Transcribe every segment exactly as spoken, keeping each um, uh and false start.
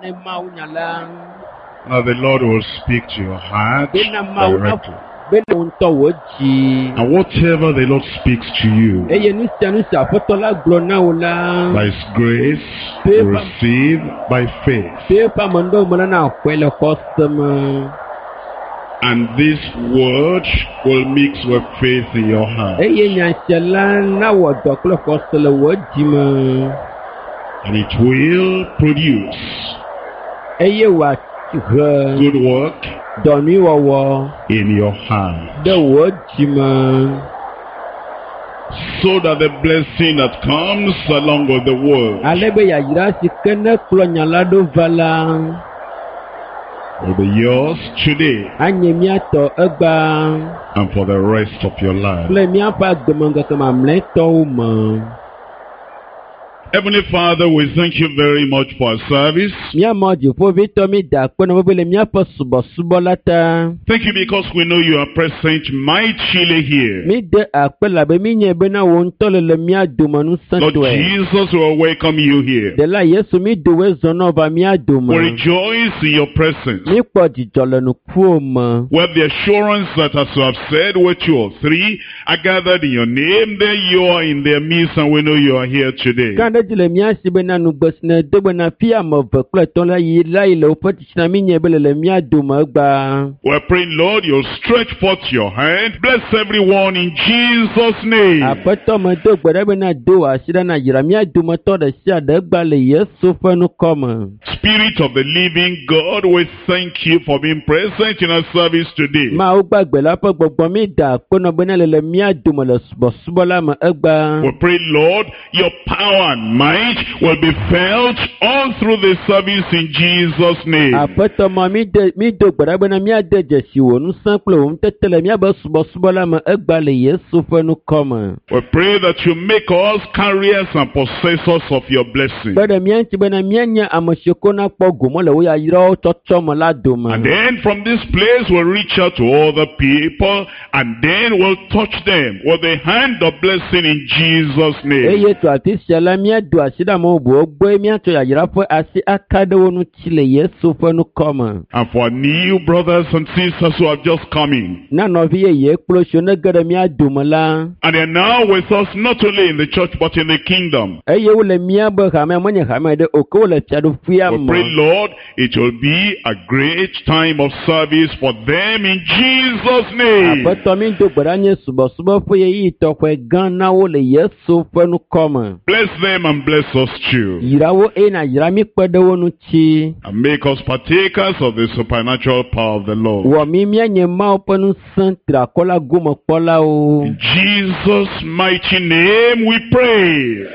ne Mawu nya la. Now the Lord will speak to your heart Bena Mawu na directly. bena wò ŋutɔ wò dzi. And whatever the Lord speaks to you, Eye nu sia nu si Aƒetɔ la gblɔ na wò la, by His grace, you receive by faith. to eƒe amenuɖewo me la na xɔe le xɔse me. And this word will mix with faith in your heart. Eye nya sia la nawɔ dɔ kple xɔse le wò dzi me. And it will produce Eye wòahe good work dɔ nyui wɔwɔ in your heart. ɖe wò dzi me. So that the blessing that comes along with the word Ale be yayra si ke ne kplɔ nya la ɖo va la, will be yours today anye mía tɔ egbea and for the rest of your life. kple míaƒe agbemeŋkeke mamlɛtɔwo me. Heavenly Father, we thank you very much for our service. Mía Mawu dziƒoʋĩtɔ mí da akpe na wò be le míaƒe subɔsubɔ la ta. Thank you because we know you are present mightily here. Mí de akpe labe mí nye bena wò ŋutɔ le le mía dome Lord ŋusẽtɔe. Jesus, we welcome you here. Ɖela Yesu mí do woe zɔ nɔ va mía dome. We rejoice in your presence. Mí kpɔ dzidzɔ le nukuwo me. We have the assurance that as you have said, where two or three are gathered in your name, there you are in their midst, and we know you are here today. Ka ɖe dzi le mía si bena nugbe si ne do bena fi ame eve kple etɔ̃ la yi la yi le woƒe tsitsina mí nye be le le mía dome egbea. We're praying, Lord, you'll stretch forth your hand. Bless everyone in Jesus' name. Aƒetɔ me do gbe ɖa bena do wò asi ɖa na yra mía dometɔ ɖe sia ɖe egbea le Yesu ƒe ŋkɔ me. Spirit of the living God, we thank you for being present in our service today. Mawu gbagbe la ƒe gbɔgbɔ mí da akpe nɔ bena le le mía dome le subɔsubɔ la me egbea. We pray, Lord, your power and might will be felt all through the service in Jesus' name. Aƒetɔ ma mí de mí do gbe ɖa bena míade dzesi wò ŋusẽ kple wò ŋutete le míaƒe subɔsubɔ la me egbea le Yesu ƒe ŋkɔ me. We pray that you make us carriers and possessors of your blessing. Kpe ɖe mía ŋuti bena míanye ame siwo ko nakpɔ gome le wò yayrawo tsɔtsɔ me la dome. And then from this place we'll reach out to other people and then we'll touch them with the hand of blessing in Jesus' name. Eye to afi sia la míado asi ɖe ame bubuwo gbɔe míatsɔ yayra ƒe asi aka ɖe wo ŋuti le Yesu ƒe ŋkɔ me. And for our new brothers and sisters who have just come in, Na nɔvi yeye kple siwo ne ge ɖe mía dome la, and they are now with us not only in the church but in the kingdom. eye wole míabe hamea menye hame ɖe o ke wole fiaɖuƒea We pray, me. Lord, it will be a great time of service for them in Jesus' name. Aƒetɔ mi do gbe ɖa nye subɔsubɔ ƒe ɣeyiɣi tɔxɛ gã na wo le Yesu ƒe ŋkɔ me. Bless them and bless us too. Yra wo eye nàyra mí kpe ɖe wo ŋuti. And make us partakers of the supernatural power of the Lord. Wɔ mí míanye Mawu ƒe ŋusẽ triakɔ la gomekpɔlawo. In Jesus' mighty name we pray.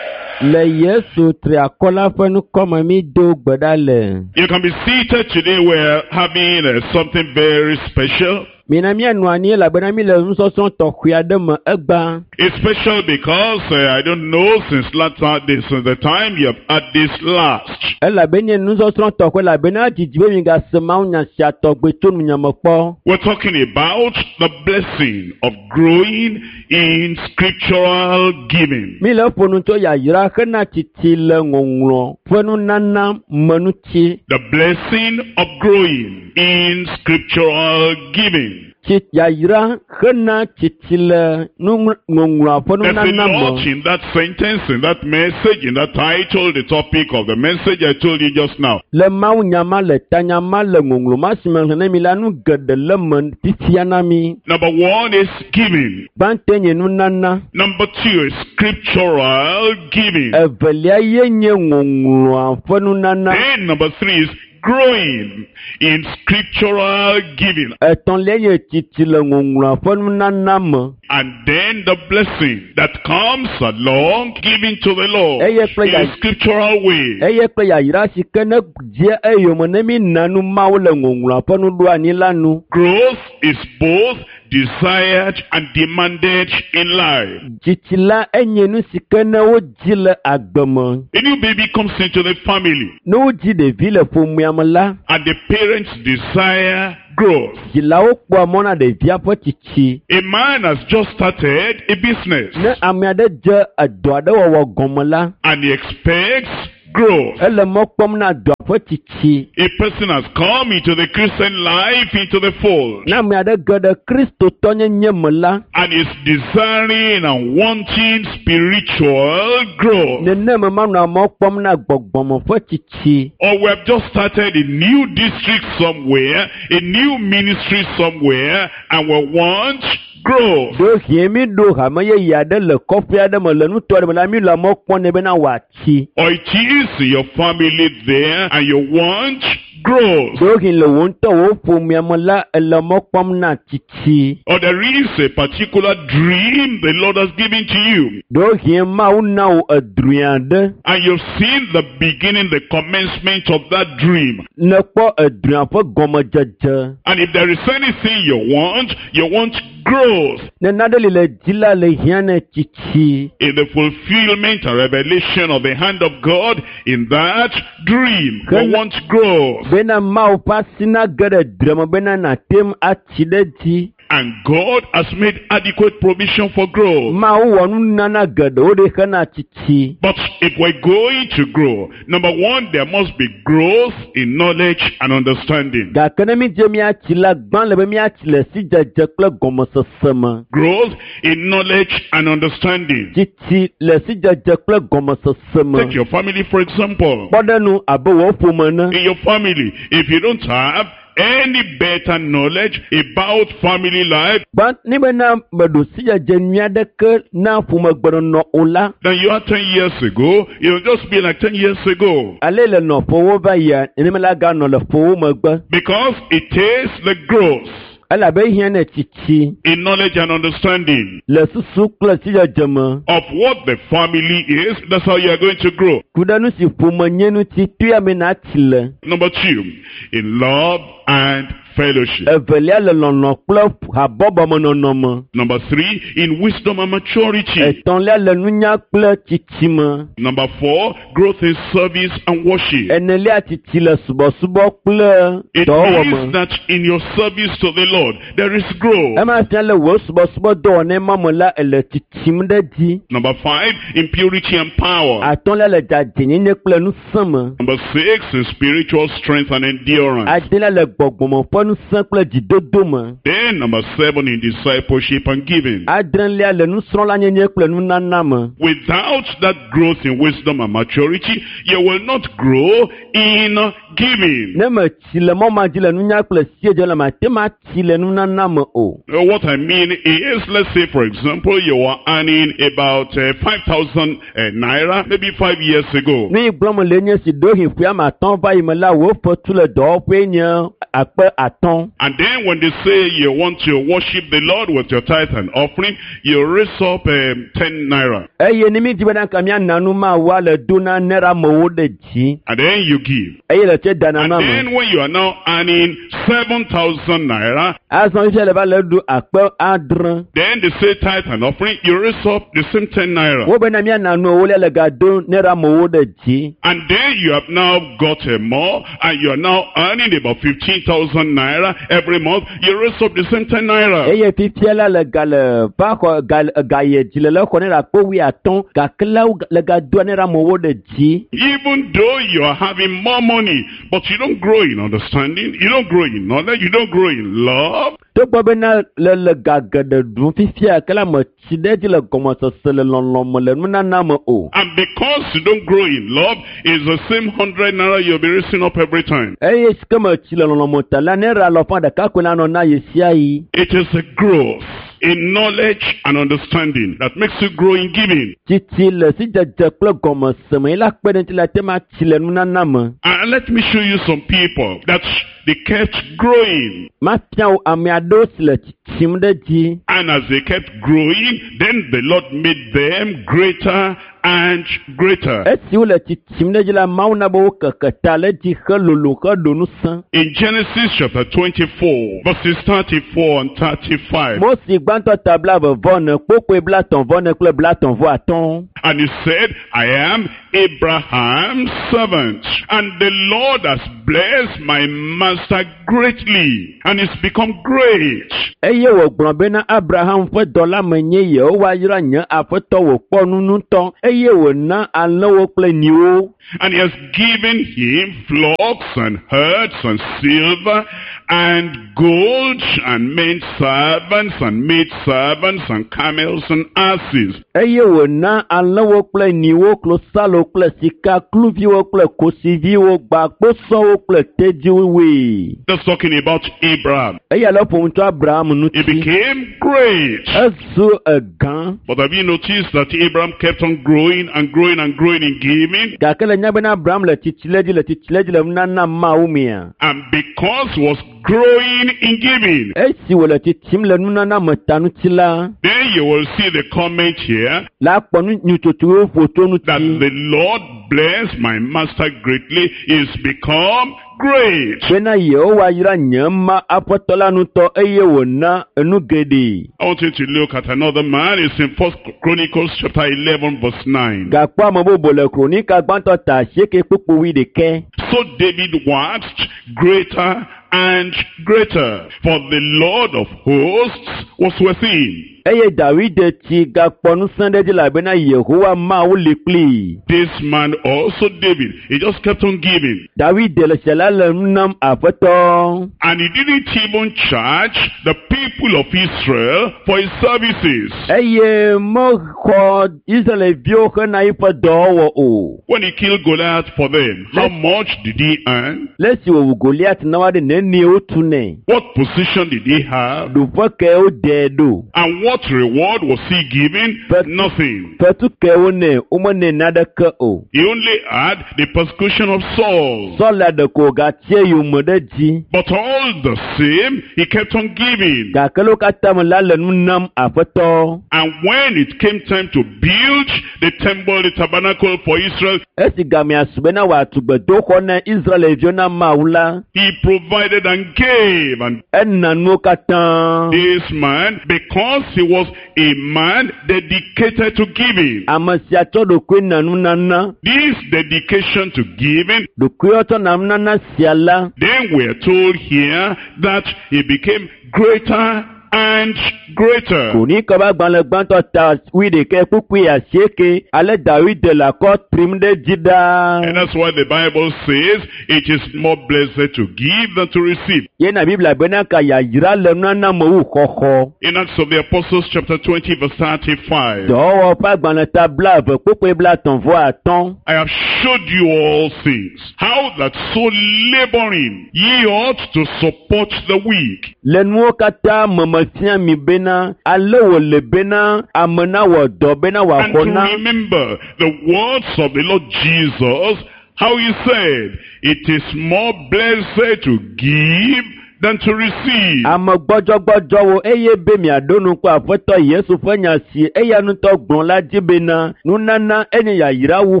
Le Yesu triakɔ la ƒe ŋkɔ me mí do gbe ɖa le. You can be seated today. We're having uh, something very special. Mina míanɔ anyi elabena mí le nusɔsrɔ̃ tɔxɛ aɖe me egbea. It's special because uh, I don't know since last time, since the time you have had this last. Elabe nye nusɔsrɔ̃ tɔxɛ elabena dzidzi be migase mawunya sia tɔgbe tso nunyame kpɔ. We're talking about the blessing of growing in scriptural giving. Mi le ƒo nu tso yayra hena tsitsi le ŋɔŋlɔ ƒe nunana me ŋuti. The blessing of growing in scriptural giving. Tsi yayra hena tsitsi le nuŋl- ŋɔŋlɔa ƒe There's a nunana lot me. in that sentence, in that message, in that title, the topic of the message I told you just now. Le mawunya ma le tanya ma le ŋɔŋlɔ ma si me xlẽ na mi la nu geɖe le me fifia na mi. Number one is giving. Gbãtɔe nye nunana. Number two is scriptural giving. Evelia ye nye ŋɔŋlɔa ƒe nunana. Then number three is growing in scriptural giving. Etɔ̃lia nye tsitsi le ŋɔŋlɔa ƒe nunana me. And then the blessing that comes along giving to the Lord Eye kple in a ya- scriptural way. Eye kple yayra si ke ne dze eyome ne mi na nu Mawu le ŋɔŋlɔa ƒe nuɖoanyi la nu. Growth is both desired and demanded in life. Tsitsi la enye nu si ke ne wodzi le agbe me. A new baby comes into the family Ne wodzi ɖevi le ƒomea me la, and the parents desire growth. dzilawo kpɔa mɔ na ɖevia ƒe tsitsi. A man has just started a business Ne ame aɖe dze edɔ aɖe wɔwɔ gɔme la, and he expects growth. Ele mɔ kpɔm na dɔa ƒe tsitsi. A person has come into the Christian life, into the fold, Ne ame aɖe ge ɖe kristotɔnyenye me la, and is desiring and wanting spiritual growth. nenema manɔa mɔ kpɔm na gbɔgbɔme ƒe tsitsi. Or we have just started a new district somewhere, a new ministry somewhere, and we want growth. Ɖewohĩ mi ɖo hame yeye aɖe le kɔƒe aɖe me le nuto aɖe me la, mi le mɔ kpɔm nɛ bena wòatsi. Or it is your family there and you want growth. Ɖewohĩ le wò ŋutɔ wò ƒomea me la, ele mɔ kpɔm na tsitsi. Or there is a particular dream the Lord has given to you. Ɖewohĩ Mawu na wò edrɔ̃e aɖe. And you've seen the beginning, the commencement of that dream. Nèkpɔ edrɔ̃a ƒe gɔmedzedze. And if there is anything you want, you want growth Ne nane li le dzi la le hiã ne tsitsi. in the fulfillment and revelation of the hand of God in that dream. You Can- want growth. Bena Mawu ƒe asi nage ɖe drɔ̃e me bena nàte ŋu atsi ɖe edzi. And God has made adequate provision for growth. Mawu wɔ nunana geɖewo ɖi hena tsitsi. But if we're going to grow, number one, there must be growth in knowledge and understanding. Gake ne mi dze míatsi la, gbã le be míatsi le sidzedze kple gɔmesese me. Growth in knowledge and understanding. Tsitsi le sidzedze kple gɔmesese me. Take your family, for example. Kpɔɖenu abe wò ƒome ene. In your family, if you don't have any better knowledge about family life Gbã ne bena meɖo sidzedze nyui aɖeke na ƒomegbenɔnɔ o la, than you had ten years ago, you'll just be like ten years ago. ale le nɔ ƒowo va yia, nenema la ganɔ le ƒowo megbe. Because it takes the growth Elabe ehiã ne tsitsi in knowledge and understanding le susu kple sidzedze me. of what the family is. That's how you are going to grow. Ku ɖe nu si ƒome nye ŋuti, toya me natsi le. Number two, in love and fellowship. Evelia le lɔlɔ̃ kple habɔbɔmenɔnɔ me. Number three, in wisdom and maturity. Etɔ̃lia le nunya kple tsitsi me. Number four, growth in service and worship. Enelia tsitsi le subɔsubɔ kple It dɔwɔwɔ means me. that in your service to the Lord, there is growth. Ema fia le wò subɔsubɔ dɔwɔnɛ ma me la, ele tsitsim ɖe dzi. Number five, in purity and power. Atɔ̃lia le dzadzɛnyenye kple ŋusẽ me. Number six, in spiritual strength and endurance. Adelia le gbɔgbɔme ƒe ŋusẽ kple dzidodo me. Then number seven, in discipleship and giving. Adrelia le nusrɔ̃lanyenye kple nunana me. Without that growth in wisdom and maturity, you will not grow in giving. Ne metsi le mɔ ma dzi le nunya kple siedzedze le mate ŋu atsi le nunana me o. Uh, What I mean is, let's say, for example, you were earning about uh, five thousand uh, naira maybe five years ago. Nu yi gblɔm le nye si ɖewohĩ ƒe ame atɔ̃ va yi me la, wò fetu le dɔwɔƒee nye akpe atɔ̃. And then when they say you want to worship the Lord with your tithe and offering, you raise up um, ten naira. Eye ne mi di bena ka miana nu Mawua le do na nera amewo ɖe dzi. And then you give. Eye le tse dana And na me. then when you are now earning seven thousand naira, Azɔ fifia le va le ɖu akpe adre. then they say tithe and offering, you raise up the same ten naira. Wo bena miana nu ewolia le ga do nera amewo ɖe dzi. And then you have now got a more, and you are now earning about fifteen thousand naira every month. You raise up the same ten naira. Eye fifia la le ga le va xɔ ga ga ye dzi le le xɔ nera akpe wuiatɔ̃ gake la wo le ga doa nera amewo ɖe dzi. Even though you are having more money, but you don't grow in understanding, you don't grow in knowledge, you don't grow in love, Togbɔ bena le le ga geɖe ɖum fifia ke la metsi ɖe edzi le gɔmesese le lɔlɔ me le nunana me o. And because you don't grow in love, it's the same hundred naira you'll be raising up every time. Eye si ke metsi le lɔlɔ me ta la ne ra lɔƒã ɖeka koe la nɔ na ye sia yi. It is a growth in knowledge and understanding that makes you grow in giving. Tsitsi le sidzedze kple gɔmeseme ye la kpe ɖe ŋuti la te ma tsi le nunana me. And let me show you some people that they kept growing. Mafia wo ame aɖewo si le tsitsim ɖe dzi. And as they kept growing, then the Lord made them greater and greater. Esi wole tsitsim ɖe dzi la, Mawu na be wo keke ta le dzi helolo heɖo ŋusẽ. In Genesis chapter twenty-four, verses thirty-four and thirty-five. Mose gbãtɔ ta blaeve vɔ ene kpokpoe blatɔ̃ vɔ ene kple blatɔ̃ vɔ atɔ̃. And he said, "I am Abraham's servant. And the Lord has blessed my master greatly, and is become great. Eye wògblɔ bena Abraham ƒe dɔla menye Yehowa yra nye aƒetɔ wòkpɔ nu ŋutɔ eye wòna alẽwo kple nyiwo. And he has given him flocks and herds and silver and gold and men servants and maid servants and camels and asses. Eye wòna alẽwo kple nyiwo, klosalo kple sika, kluviwo kple kosiviwo, gbakposɔwo kple tedziwoe. That's talking about Abraham. Eya le ƒom tso Abraham He ŋuti. became great. Ezu egã. But have you noticed that Abraham kept on growing and growing and growing in giving? Gake le nya bena Abraham le tsitsi ɖe dzi le tsitsi ɖe dzi le nunana Mawu mea. And because he was growing in giving, Esi wòle tsitsim le nunana me ta ŋuti la, then you will see the comment here la kpɔ nu nyutsotsowo ƒo tso that ŋuti. the Lord blessed my master greatly is become great. Bena Yehowa yra nye ma aƒetɔ la ŋutɔ eye wòna enu geɖe. I want you to look at another man. It's in First Chronicles chapter eleven verse nine. Gakpɔ ame bubu le Kronika gbãtɔ ta asieke kpukpu wuiɖekɛ. So David waxed greater and greater, for the Lord of hosts was with him. Eye Dawide tsi gakpɔ ŋusẽ ɖe dzi elabena Yehowa Mawu li kplii. This man also, David, he just kept on giving. Dawide le sia la le nu nam aƒetɔ. And he didn't even charge the people of Israel for his services. Eye mexɔ Israelviwo hena eƒe dɔwɔwɔ o. When he killed Goliath for them, how much did he earn? Le esi wòwu Goliat na woaɖe nenie wotu nɛ. What position did he have? Ɖoƒe ke woɖee ɖo. And what reward was he given? But- Nothing. Fetu ke wonɛ, womenɛ naneke o. He only had the persecution of Saul. Sɔla ɖeko wògatsie yome ɖe dzi. But all the same, he kept on giving. Gake le wo katã me la le nu nam aƒetɔ. And when it came time to build the temple, the tabernacle for Israel, Esi gamea su bena wòatu gbedoxɔ na Israelviwo na Mawu la, he provided and gave. And ena nuwo katã. this man, because he was a man dedicated to giving, Ame sia tsɔ ɖokui na nunana. this dedication to giving, Ɖokuiwɔtsɔ na nunana sia la, then we are told here that he became greater and greater. Kronika ƒe agbalẽ gbãtɔ ta wuiɖekɛ kpukpui asieke ale Dawide le akɔ trim ɖe dzi ɖaa. And that's why the Bible says it is more blessed to give than to receive. Yena Biblia bena ka yayra le nunana me wu xɔxɔ. In Acts of the Apostles chapter twenty verse thirty-five. Dɔwɔwɔ ƒe agbalẽ ta blaeve kpukpui blaetɔ̃ vɔ atɔ̃. I have showed you all things, how that so laboring ye ought to support the weak. Le nuwo katã me mefia mi bena ale wòle bena ame nawɔ dɔ bena And wòaxɔ to na. remember the words of the Lord Jesus, how he said, it is more blessed to give than to receive. Ame gbɔdzɔgbɔdzɔwo eye be miaɖo ŋku aƒetɔ Yesu ƒe nya si eya ŋutɔ gblɔ la dzi bena nunana enye yayra wu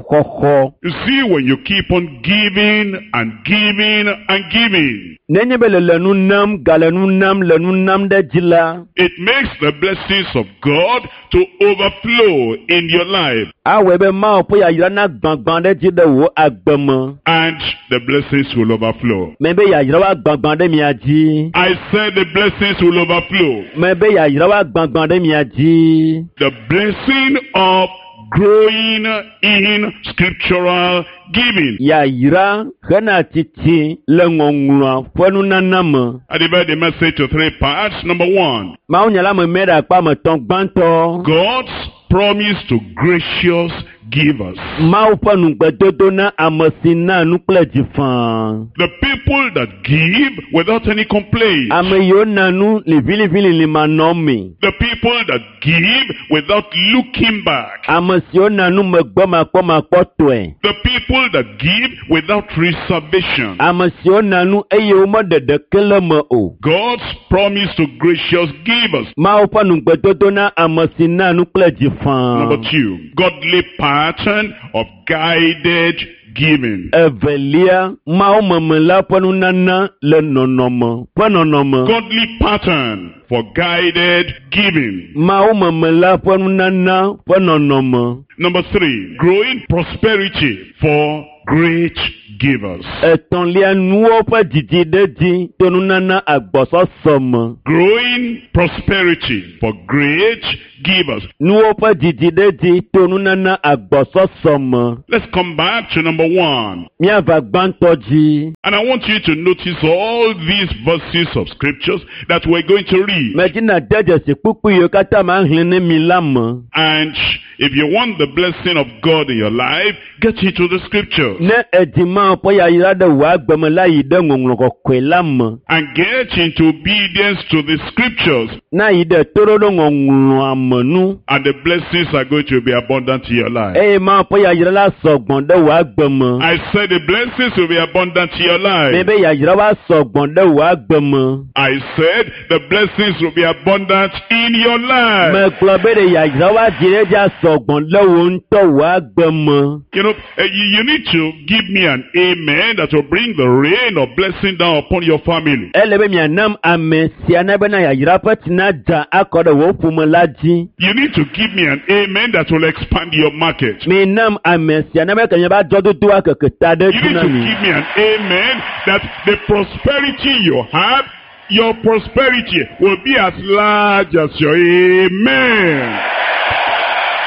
xɔxɔ. You see, when you keep on giving and giving and giving, Nenye be le le nu nam, gale nu nam, le nu nam ɖe dzi la, it makes the blessings of God to overflow in your life. awɔe be Mawu ƒe yayra na gbãgbã ɖe dzi ɖe wò agbe me. And the blessings will overflow. Mebe yayra wa gbãgbã ɖe mia dzi. I said the blessings will overflow. Mebe yayra wa gbãgbã ɖe mia dzi. The blessing of growing in scriptural giving. Yayra hena tsitsi le ŋɔŋlɔa ƒe nunana me. I divide the message to three parts. Number one, Mawunya la me mɛ ɖe akpa me tɔ̃ gbãtɔ. God's promise to gracious givers. Mawu ƒe nugbedodo na ame si na nu kple dzi faa. The people that give without any complaint. Ame yiwo na nu liʋiliʋilili manɔmee. The people that give without looking back. Ame siwo na nu megbɔmakpɔmakpɔtɔe. The people that give without reservation. Ame siwo na nu eye womeɖe ɖeke le me o. God's promise to gracious givers. Mawu ƒe nugbedodo na ame si na nu kple dzi faa. Number two, godly pattern of guided giving. Evelia, Mawu la ƒe nunana le nɔnɔme ƒe nɔnɔme. Godly pattern for guided giving. Mawu la ƒe nunana ƒe nɔnɔme. Number three, growing prosperity for great givers. Etɔ̃lia, nuwo ƒe dzidzi ɖe dzi to nunana agbɔsɔsɔ me. Growing prosperity for great givers. Nuwo ƒe dzidzi ɖe dzi to nunana agbɔsɔsɔ me. Let's come back to number one. Míava gbãtɔ dzi. And I want you to notice all these verses of scriptures that we're going to read. Medina de dzesi kpukpui yiwo katã ma xlẽ ne mi la me. And if you want the blessing of God in your life, get into the scriptures. Ne edi Mawu ƒe yayra ɖe wò agbe me la yi ɖe ŋɔŋlɔ kɔkɔe la me. And get into obedience to the scriptures. Na yi ɖe toɖoɖo ŋɔŋlɔa me nu. And the blessings are going to be abundant in your life. Eye Mawu ƒe yayra la sɔgbɔ ɖe wò agbe me. I said the blessings will be abundant in your life. Mebe yayra wa sɔgbɔ ɖe wò agbe me. I said the blessings will be abundant in your life. Megblɔ be ɖe yayra wa dzi ɖe dzi asɔgbɔ ɖe wò ŋutɔ wò agbe me. You know, eh, you, you need to give me an amen that will bring the rain of blessing down upon your family. Ele be mianam ame sia na bena yayra ƒe tsi nadza akɔ ɖe wò ƒome la dzi. You need to give me an amen that will expand your market. Minam ame sia na be ke miava dzɔdodoa keke ta ɖe You dzi need na to mi. give me an amen that the prosperity you have, your prosperity will be as large as your amen.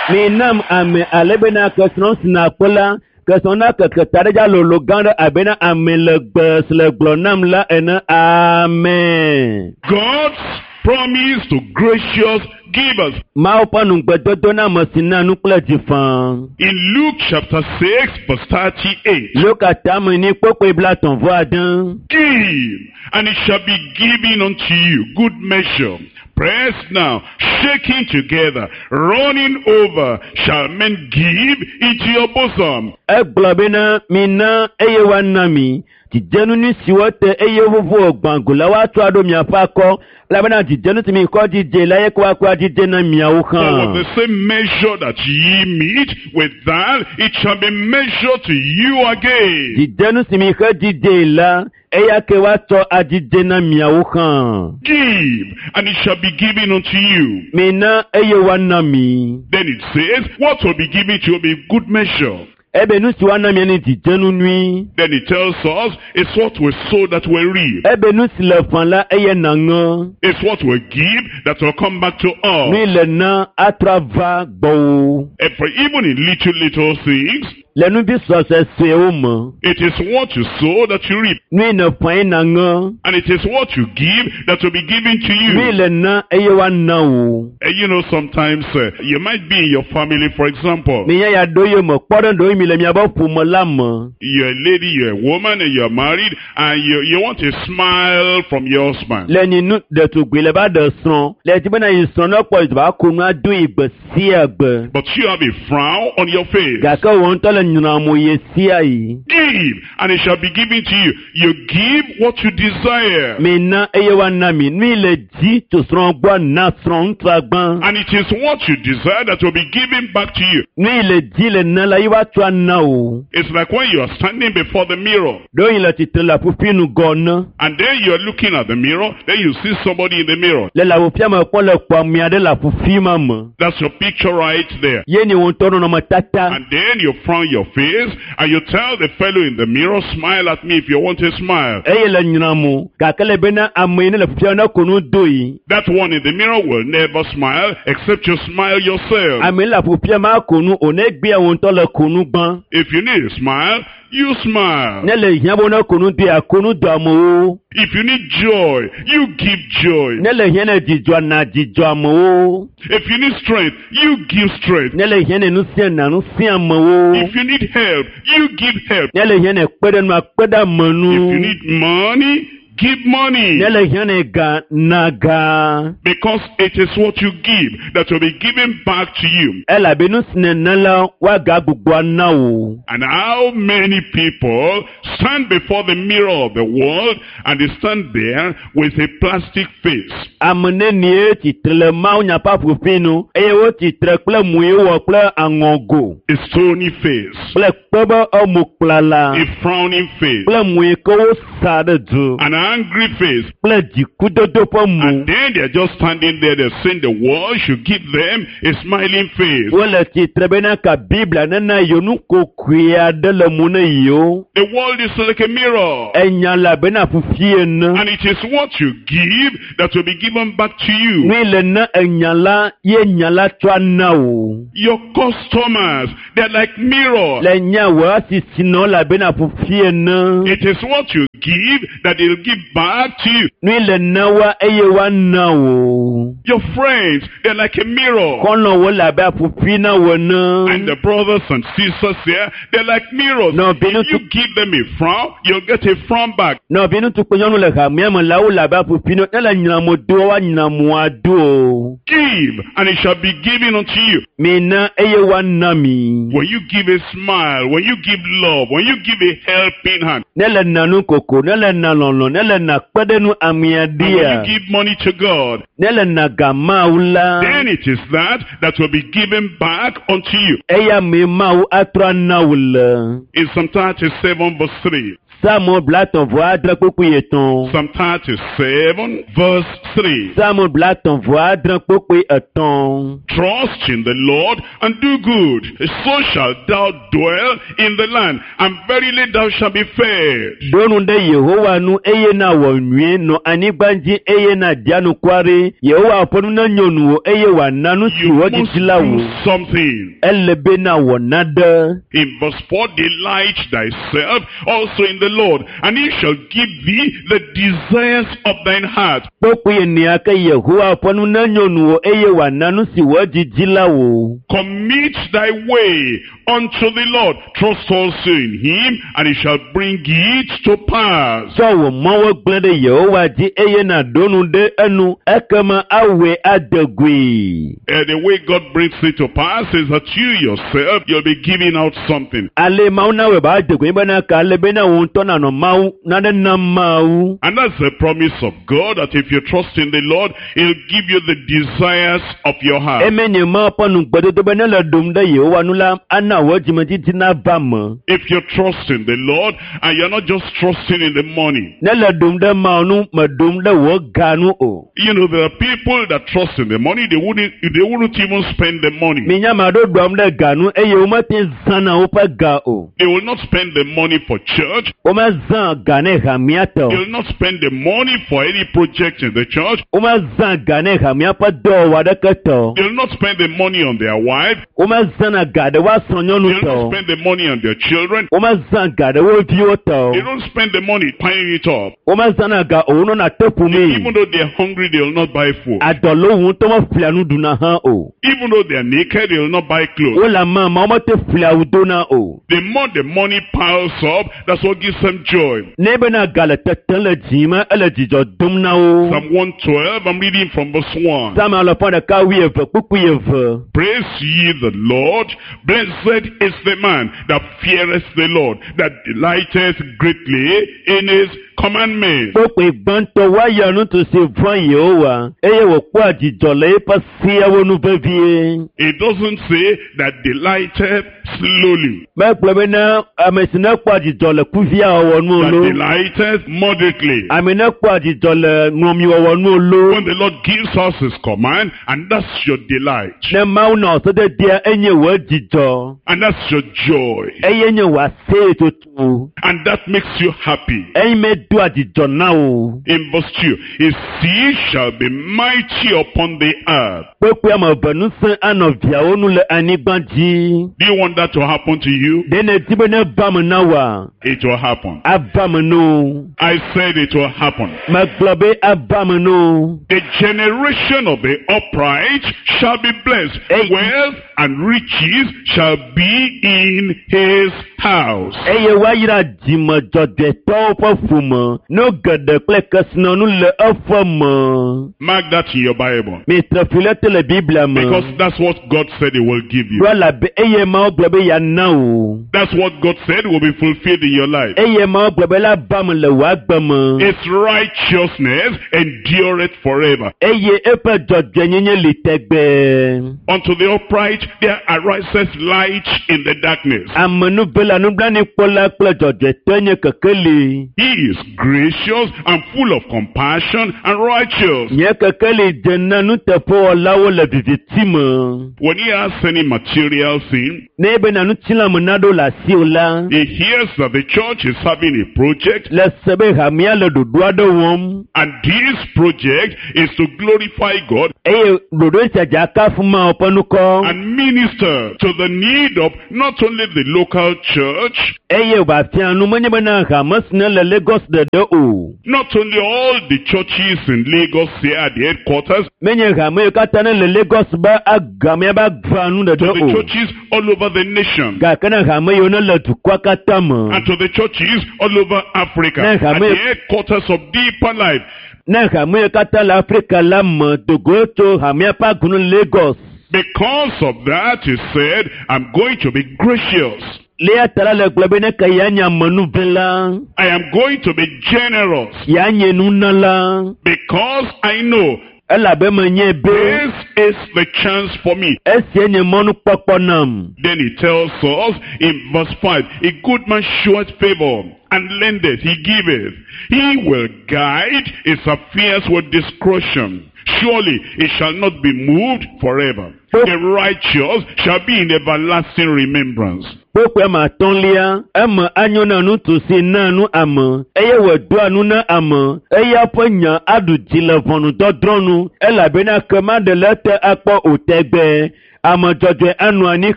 Minam ame ale bena kesrɔ̃ si nakpɔ la, kesrɔ̃ na keke ta ɖe dzi alolo gã ɖe abena ame le gbe si le gblɔ nam la ene. Amen. God's promise to gracious givers. Mawu ƒe nugbedodo na ame si na nu kple dzi faa. In Luke chapter six, verse thirty-eight. Luka tame ni kpokpoe blatɔ̃ vɔ ade. Give, and it shall be given unto you, good measure, pressed now, shaking together, running over, shall men give into your bosom. Egblɔ bena mina eye woana mi. Dzidzenu nyui siwo te eye wovo gbãgo la woatsɔ aɖo miaƒe akɔ elabena dzidzenu si mi kɔ dzidze la ye ko woakɔ adzidze na miawo For hã. with the same measure that ye meet, with that it shall be measured to you again. Dzidzenu si mi xe dzidze la eya ke woatsɔ adzidze na miawo hã. Give, and it shall be given unto you. Mina eye woana mi. Then it says, what will be given to you will be good measure. Ebe nu si woana mia ni dzidzenu nyui. Then it tells us, it's what we sow that we reap. Ebe nu si le fã la eye nàŋe. It's what we give that will come back to us. Nui le na atrɔ ava gbɔwò. And for even in little, little things, Le nuvi sɔsɔe me. it is what you sow that you reap. Nui ne fã ye nàŋe. And it is what you give that will be given to Nui you. le na eye woana wò. And you know, sometimes uh, you might be in your family, for example. Minya ya ɖo ye me kpɔ ɖe ɖewo mi le miaƒe ƒome la me. You're a lady, you're a woman, and you're married, and you, you want a smile from your husband. Le nyinu ɖetugbui le va ɖe srɔ̃. Le dzi bena yi srɔ̃ ne kpɔ yi va ko nua do yi gbe sia gbe. But you have a frown on your face. Gake wò ŋutɔ le nyrɔmo ye sia yi. Give, and it shall be given to you. You give what you desire. Mina eye woana mi. Nui le dzi tso srɔ̃ gbɔ na srɔ̃ ŋutsua gbã. And it is what you desire that will be given back to you. Nui le dzi le na la ye woatsɔ ana wò. It's like when you are standing before the mirror, Ɖewohĩ le tsitre le aƒuƒui nu gɔ ne. and then you are looking at the mirror, then you see somebody in the mirror. Le le aƒuƒia me kpɔ le kpɔ ame aɖe le aƒuƒui ma me. That's your picture right there. Ye ni wò ŋutɔ nɔnɔmetata. And then you frown your face, and you tell the fellow in the mirror, smile at me if you want a smile. Eye le nyrɔmo gake le bena ame yi ne le aƒuƒia ne ko nu do yi. That one in the mirror will never smile except you smile yourself. Ame yi le aƒuƒia ma ko nu o ne gbea wò ŋutɔ le ko nu gbã. If you need a smile, you smile. Ne le hiã be ne ko nu doa ko nu do amewo. If you need joy, you give joy. Ne le hiã ne dzidzɔ na dzidzɔ amewo. If you need strength, you give strength. Ne le hiã ne ŋusẽ na ŋusẽ amewo. If you need help, you give help. Ne le hiã ne kpe ɖe nua kpe ɖe ame nu. If you need money, give money. Ne le hiã ne ga na ga. Because it is what you give that will be given back to you. Elabe nu si nèna la woagagbugbɔ ana wò. And how many people stand before the mirror of the world and they stand there with a plastic face? Ame nenie tsitre le Mawu nya ƒe aƒuƒui nu eye wotsitre kple mui wɔ kple aŋɔgo A stony face, kple kpe be emo kplala a frowning face, kple mui ke wosa ɖe du an angry face. kple dzikudodo ƒe mo. And then they're just standing there, they're saying the world should give them a smiling face. Wole tsitre bena ka Biblia nena yewo nukokoe aɖe le mo ne yewo. The world is like a mirror. Enya le abe na ƒuƒui ene. And it is what you give that will be given back to you. Nui le na enya la ye nya la tsɔ ana wò. Your customers, they're like mirror. Le nya wò asisinɔ le abe na ƒuƒui ene. It is what you give that they'll give back to you. Nui le na wa eye woana wò. Your friends, they're like a mirror. Xɔlɔ̃wo le abe aƒuƒui na wò ene. And the brothers and sisters here, they're like mirrors. No, Binu- If you give them a frown, you'll get a frown back. Nɔvi ŋutsu kple nyɔnu le hamea me la wole abe aƒuƒui na ne le nyramo do woanyra moa do o. Give, and it shall be given unto you. Mina eye woana mi. When you give a smile, when you give love, when you give a helping hand, Ne le na nu koko, ne le na lɔlɔ, ne le na kpeɖenu amea and when ɖia, you give money to God, ne le na ga Mawu la, then it is that that will be given back unto you. eya mee Mawu atrɔ ana wò le. In Psalm thirty-seven verse three. Psalm blatɔ̃ vɔ adre kpukpui etɔ̃. Psalm thirty-seven verse three. Psalm blatɔ̃ vɔ adre kpukpui etɔ̃. Trust in the Lord and do good. So shalt thou dwell in the land, and verily thou shalt be fed. Ɖo nu ɖe Yehowa nu eye na wɔ nyuie nɔ anyigba dzi eye na di anukware. Yehowa ƒe nu nenyo nuwò eye wòana nu si You wò must didi la do wò. something. Ele be na wɔ naɖe. In verse four, delight thyself also in the Lord, and he shall give thee the desires of thine heart. Kpukpui enea ke Yehowa ƒe nu nenyo nuwò eye wòana nu si wò didi la wò. Commit thy way unto the Lord. Trust also in him, and he shall bring it to pass. Tsɔ wò mɔwo gblẽ ɖe Yehowa dzi eye nàɖo nu ɖe enu ekema awɔe ade goe. Uh, the way God brings it to pass is that you yourself, you'll be giving out something. Ale Mawu nawɔe be ade goe bena ka ale bena wò ŋutɔ nànɔ Mawu nane nam Mawu. And that's the promise of God, that if you trust in the Lord, he'll give you the desires of your heart. Eme nye Mawu ƒe nugbedodo be ne le ɖom ɖe Yehowa nu la, ana wò dzimedidi nava me. If you trust in the Lord, and you're not just trusting in the money. Ne le ɖom ɖe Mawu nu, meɖom ɖe wò ga nu o. You know, there are people that trust in the money, they wouldn't, they wouldn't even spend the money. Minya ame aɖewo ɖom ɖe ga nu eye womete zãna woƒe ga o. They will not spend the money for church. Womezã ga ne hamea tɔ o. They will not spend the money for any project in the church. Womezã ga ne hamea ƒe dɔwɔwɔ aɖeke tɔ o. They will not spend the money on their wife. Womezãna ga ɖe woa srɔ̃nyɔnu They will tɔ not o. spend the money on their children. Womezã ga ɖe wo viwo tɔ o. They don't spend the money piling it up. Womezãna ga o, wonɔna te ƒomee. Even though they're hungry, they will not buy food. Adɔ le wo ŋutɔ meƒlea nu ɖuna hã o. Even though they're naked, they will not buy clothes. Wole ame ma womete ƒlea awu dona o. The more the money piles up, that's what gives them joy. Ne bena ga le tetem le dzi me, ele dzidzɔ dom na wo. Psalm one twelve, I'm reading from verse one. Psalm alafa ɖeka wuieve kpukpui eve. Praise ye the Lord. Blessed is the man that feareth the Lord, that delighteth greatly in his commandments. Kpukpui gbãtɔ woayɔ ŋutsu si vɔ̃ Yehowa eye wòkpɔa dzidzɔ le eƒe seawo nu vevie. It doesn't say that delighteth slowly, Megblɔ bena ame si ne kpɔa dzidzɔ le kuviawɔwɔ nu o that lo. delighteth moderately. Ame ne kpɔa dzidzɔ le ŋlɔmiwɔwɔ nu o lo. When the Lord gives us his command, and that's your delight, Ne Mawu na wòsededea enye wò dzidzɔ and that's your joy, eye nye wò aseyetoto and that makes you happy. eyi me doa dzidzɔ na wò. In verse two, his seed shall be mighty upon the earth. Kpekpe ame eve ŋusẽ anɔ viawo nu le anyigba dzi. Do you want that to happen to you? Ɖe nèdi be neva me na wòa? It will happen. Ava me no. I said it will happen. Megblɔ be ava me no. The generation of the upright shall be blessed. Hey. Wealth and riches shall be in his house. Eye woayra dzimedzɔdzɔetɔwo ƒe ƒome. me nu geɖe kple kesinɔnu le eƒe me. Mark that in your Bible. Mitre fi le te le Biblia me. Because that's what God said he will give you. Ɖo elabe eye Mawu gblɔ be yeana wò. That's what God said will be fulfilled in your life. Eye Mawu gblɔ be la ba me le wò agbe me. His righteousness endureth forever. Eye eƒe dzɔdzɔenyenye li tegbee. Unto the upright there ariseth light in the darkness. Amenuvela nublanuikpɔla kple dzɔdzɔetɔe nye kekeli. He is gracious and full of compassion and righteous. Nye kekeli dze na nuteƒewɔlawo le viviti me. When he has any material thing, Ne ebena ŋutilãme naɖo le asiwò la, he hears that the church is having a project, le se be hamea le ɖoɖo aɖe wɔm and this project is to glorify God eye ɖoɖo sia dze akafu Mawu ƒe ŋkɔ and minister to the need of not only the local church, eye wòafia nu menye bena hame si ne le Lagos ɖeɖe o. not only all the churches in Lagos here at the headquarters, Menye hame yiwo katã ne le Lagos be agamea be agba nu to ɖeɖe the o. churches all over the nation, Gake ne hame yiwo ne le dukɔa katã me. and to the churches all over Africa, Ne, at hame- the headquarters of Deeper Life. Ne hame yiwo katã le Afrika la me dogo tso hamea ƒe agunu Lagos. Because of that, he said, I'm going to be gracious. Le ya ta la le gblɔ be ne ke ya nye amenuvela, I am going to be generous. ya nye nunala, Because I know elabe menye be this is the chance for me. esia nye mɔnukpɔkpɔ nam. Then he tells us in verse five, a good man showeth favor and lendeth, he giveth. He will guide his affairs with discretion. Surely it shall not be moved forever. The righteous shall be in everlasting remembrance. Kpokpoe ma atɔ̃lia, eme anyo na ŋutsu si naa nu ame eye wòdoa nu na ame eye eƒe nya aɖu dzi le ʋɔnudɔdrɔ̃ nu elabena ke maɖe le ete akpɔ o tegbee. Ame dzɔdzɔe anɔ anyi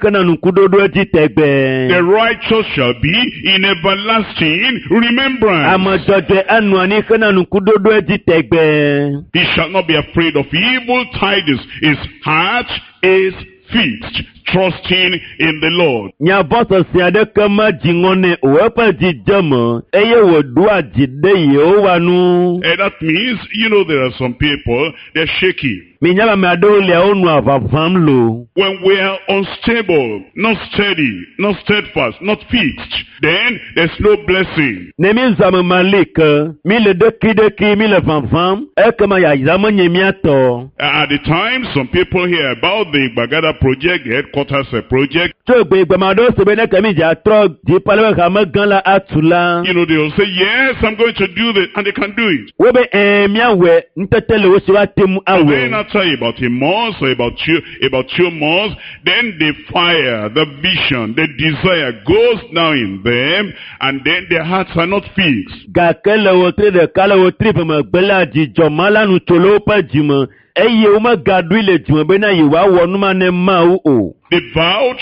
hena ŋkuɖoɖo edzi tegbee. The righteous shall be in everlasting remembrance. Ame dzɔdzɔe anɔ anyi hena ŋkuɖoɖo edzi tegbee. He shall not be afraid of evil tidings. His heart is fixed, trusting in the Lord. Nya vɔ̃ sesẽ aɖeke medzi ŋɔ nɛ o, eƒe dzi dze eme eye wòɖoa dzi ɖe Yehowa nu. And that means, you know, there are some people, they're shaky. Minya be ame aɖewo lia wonɔa ʋaʋãm loo. When we are unstable, not steady, not steadfast, not fixed, then there's no blessing. Ne mi zɔ ame mali ke, mi le ɖekiɖeki, mi le ʋaʋãm, ekema yayra menye mía tɔ. At the time, some people hear about the Bagada project, the headquarters uh, project. Tso gbegbe ame aɖewo se be ne ke mi dze atrɔ dziƒo ale be hame gã la atu la, You know, they will say, yes, I'm going to do this, and they can do it. wobe ɛɛ míawɔe, ŋutete le wo si woate ŋu Then awɔe. after about a month or about two, about two months, then the fire, the vision, the desire goes down in them, and then their hearts are not fixed. Gake le wotri ɖeka le wotri eve megbe la, dzidzɔ ma la nu tso le woƒe dzime eye womegaɖoe le dzime bena yewoawɔ nu ma ne Mawu o. They vowed,